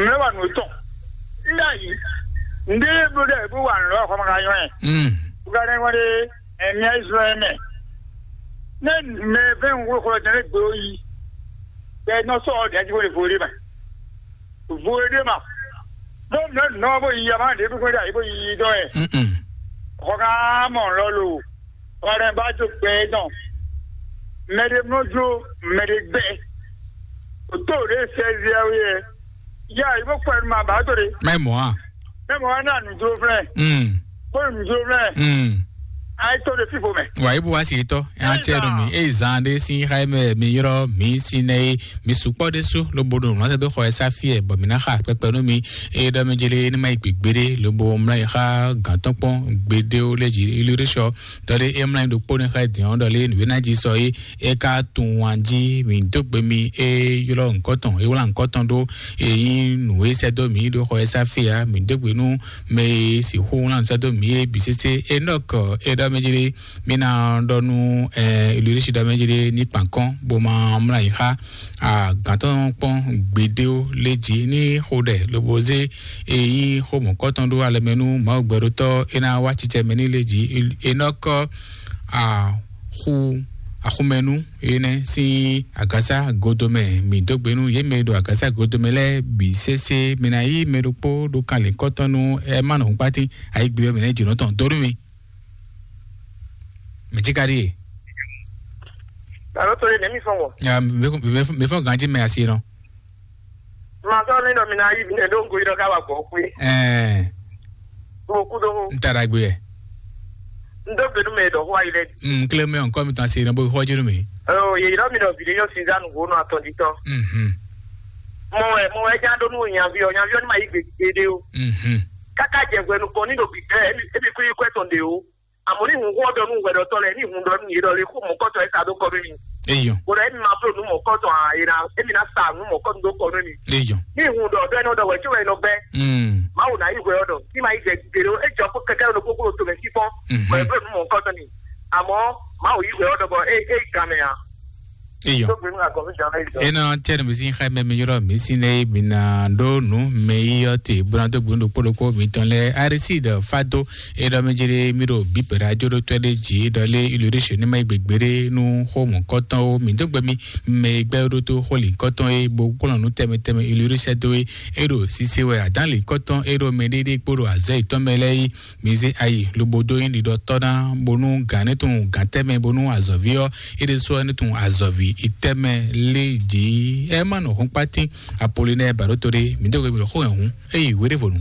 mɛ wa no tɔn. Nda yi. Nde blo de bu wa no xɔ ma ka nyɔ. Mm. Buka ne wa de. Ɛ, mía Izlayɛli mɛ, ne mɛ vɛ́ wunwló xlɔ́ jɛ́n lé gbe ó yi, bɔ é nɔ sɔ́ ɔ́ ɖě jí bó ɖe vo ɖé mɛ. Vo ɖé ma. Bó mlɔ́ nɔ bó yi ama ɖě bó ɖe ayǐ bó yi dɔn ɛ. Mm-mm. Xɔ ká mɔ lɔ lo. Xɔ ɖɛ ba jó gbɛ é dɔn. Mɛ ɖé mlɔ́ jó, mɛ ɖé gbɛ. O tó ɖě sɛ́zɛ́ wé ɛ. Ya yi bó kpɛ nu ma ba tó ɖe. Mɛ mɔ a? Mɛ mɔ wá ná nǔdó flɛ́. Mm. Bó nǔdó flɛ́. Mm. Ayi tó ɖe fífo mɛ. Wa ibu wa si tɔ. An tɛ nu mi. Eye zan ɖe sin xa mɛ mi yɔrɔ mi si nɛ ye mi sukpɔ ɖe su lobo ɖo nɔ sɛ do xɔ ɛ sa fi ɛ bɔ mi na xa kpɛkpɛ nu mi. Eye ɖɔ mi jeli ni ma yi gbegbe ɖe lobo mla yi xa gantɔ kpɔn gbede wo le ji ilu ɖe sɔ. Tɔ ɖe e mla yi ɖo kpo ne xa din ɔ ɖɔ le nu na ji sɔ ye. E ka tunwun jí mi dó gbe mi e ylɔ́ ŋkɔ́ tɔn e wlá ŋkɔ́ tɔn ɖó e nyí nǔ e sɛ́ dó mi ɖó xɔ e sá fí ǎ. Mi dó gbe nú mɛ e sixú wlá nǔ sɛ́ dó mi é bǐ sésé. Enɔk e ɖɔ mɛ jí ɖé mi ná ɖɔ nú ɛ ilirisi ɖɔ mɛ jí ɖé ní kpankɔn bó ma mlá yi xá agǎntɔn kpɔn gbedéwo lé jí ní xo ɖɛ lobo zé e nyí xó mɔ̌kɔ́ tɔn ɖó alɛ mɛ nú Mawu gbɛɖótɔ́ é ná wá cicɛ mɛ ní lé jí. Enɔk axu axumɛnu énɛ́ sín agǎsá godomɛ. Mi dó gbe nú yě mɛ e ɖo agǎsá godomɛ lɛ́ɛ bǐ sésé. Mi ná yí mɛ ɖokpó ɖó kanlin kɔ́tɔn nú ɛ má nɔ hun kpátín ayígbe ɔ́ mɛ nɛ́ jǒnɔ tɔn dó nú mi. Mɛ cí ka ɖíe. Alo to ye nɛmi fɔn wɔ. Ya, mi fɔ ganji mɛ asi nɔ. Ma sɔ ni dɔ mi na yi ne do nko yi dɔ ka wa gbɔ kwe. Ɛɛ. Mo ku do. N ta ɖagbe yɛ. N do gbenu mɛ dɔ wa yi lɛ. N kle mɛ nkɔ mi tɔn se ne bo xɔ jenu mi. Ɔ ye yɔrɔ mi dɔ video sinza nu wo nɔ atɔn di tɔ. Mhm. Mo wɛ mo wɛ nya do nu nyavi ɔ nyavi ɔ ni ma yi gbe gbe de o. Mhm. Kaka jɛ gbɛnu kɔ ni do bi ɛ ebi kuli kwɛ tɔn de o. Àmọ́ ní ìhun hú ọ̀dọ̀ nù wẹ̀dọ̀ tọ́ lẹ̀ ní ìhun dọ̀ nù yé dọ̀ lé kó mọ̀kọ́tọ̀ ẹ̀ sá dó kọ́ lónìí. Eyàn. Bọ̀dọ̀ ẹ̀mí máa fúlò nù mọ̀kọ́tọ̀ àyèrà ẹ̀mí náà sá nù mọ̀kọ́ nù dó kọ́ lónìí. Eyàn. Ní ìhun dọ̀ ọ̀dọ̀ ẹ̀nà ọ̀dọ̀ wẹ̀ tí wẹ̀ lọ bẹ́. Mm. Máa wò náà yí wẹ̀ ọ̀dọ̀ tí máa yí jẹ gbèrò ẹ̀ jọ kó kẹ̀kẹ́ ló kókó tó mẹ́ sí fọ́n. Mhm. Wẹ̀ bẹ́ẹ̀ nù mọ̀kọ́tọ̀ ni. Àmọ́ máa wò yí wẹ̀ ọ̀dọ̀ bọ̀ ẹ̀ ẹ̀ gàmẹ̀ yà. Eyàn. Tó gbé nù àgọ́ mi jọ ẹ̀ jọ. Ena tsɛ nu mi si xɛ mɛ mi yɔrɔ mi si ne mi na ɖo nu mɛ yi yɔ te buna do gbun ɖokpo ɖokpo mi tɔn lɛ arisi ɖe fa do. Eɖɔ mɛ jere mi ɖo bipɛ ɖe ajo ɖo tɔɛ ɖe dzi ɖɔ lé ilu ɖe sio ne ma yi gbegbe ɖe nu xo mɔ kɔtɔn wo mi do gbe mi mɛ yi gbɛ ɖo to xo li kɔtɔn ye bo kplɔn nu tɛmɛ tɛmɛ ilu ɖe sɛ do ye. Eɖo sise wɛ adan li kɔtɔn eɖo mɛ ɖe ɖe kpo ɖo azɔ yi tɔn mɛ lɛ yi. Mi zé ayi lobo dó nyí ɖiɖɔtɔ́ ná bónú gǎn ní tunwun gǎn tɛ́ mɛ bónú azɔ̌ví ɔ́ é ɖésú ɔ́ ní tunwun azɔ̌ví itɛ́ mɛ lé jǐ. Ɛ má nɔ hún kpátín apolináyɛ bǎɖótó ɖé mi dó gbe mi ɖo xó hɛn hǔn é yi wéɖévonu.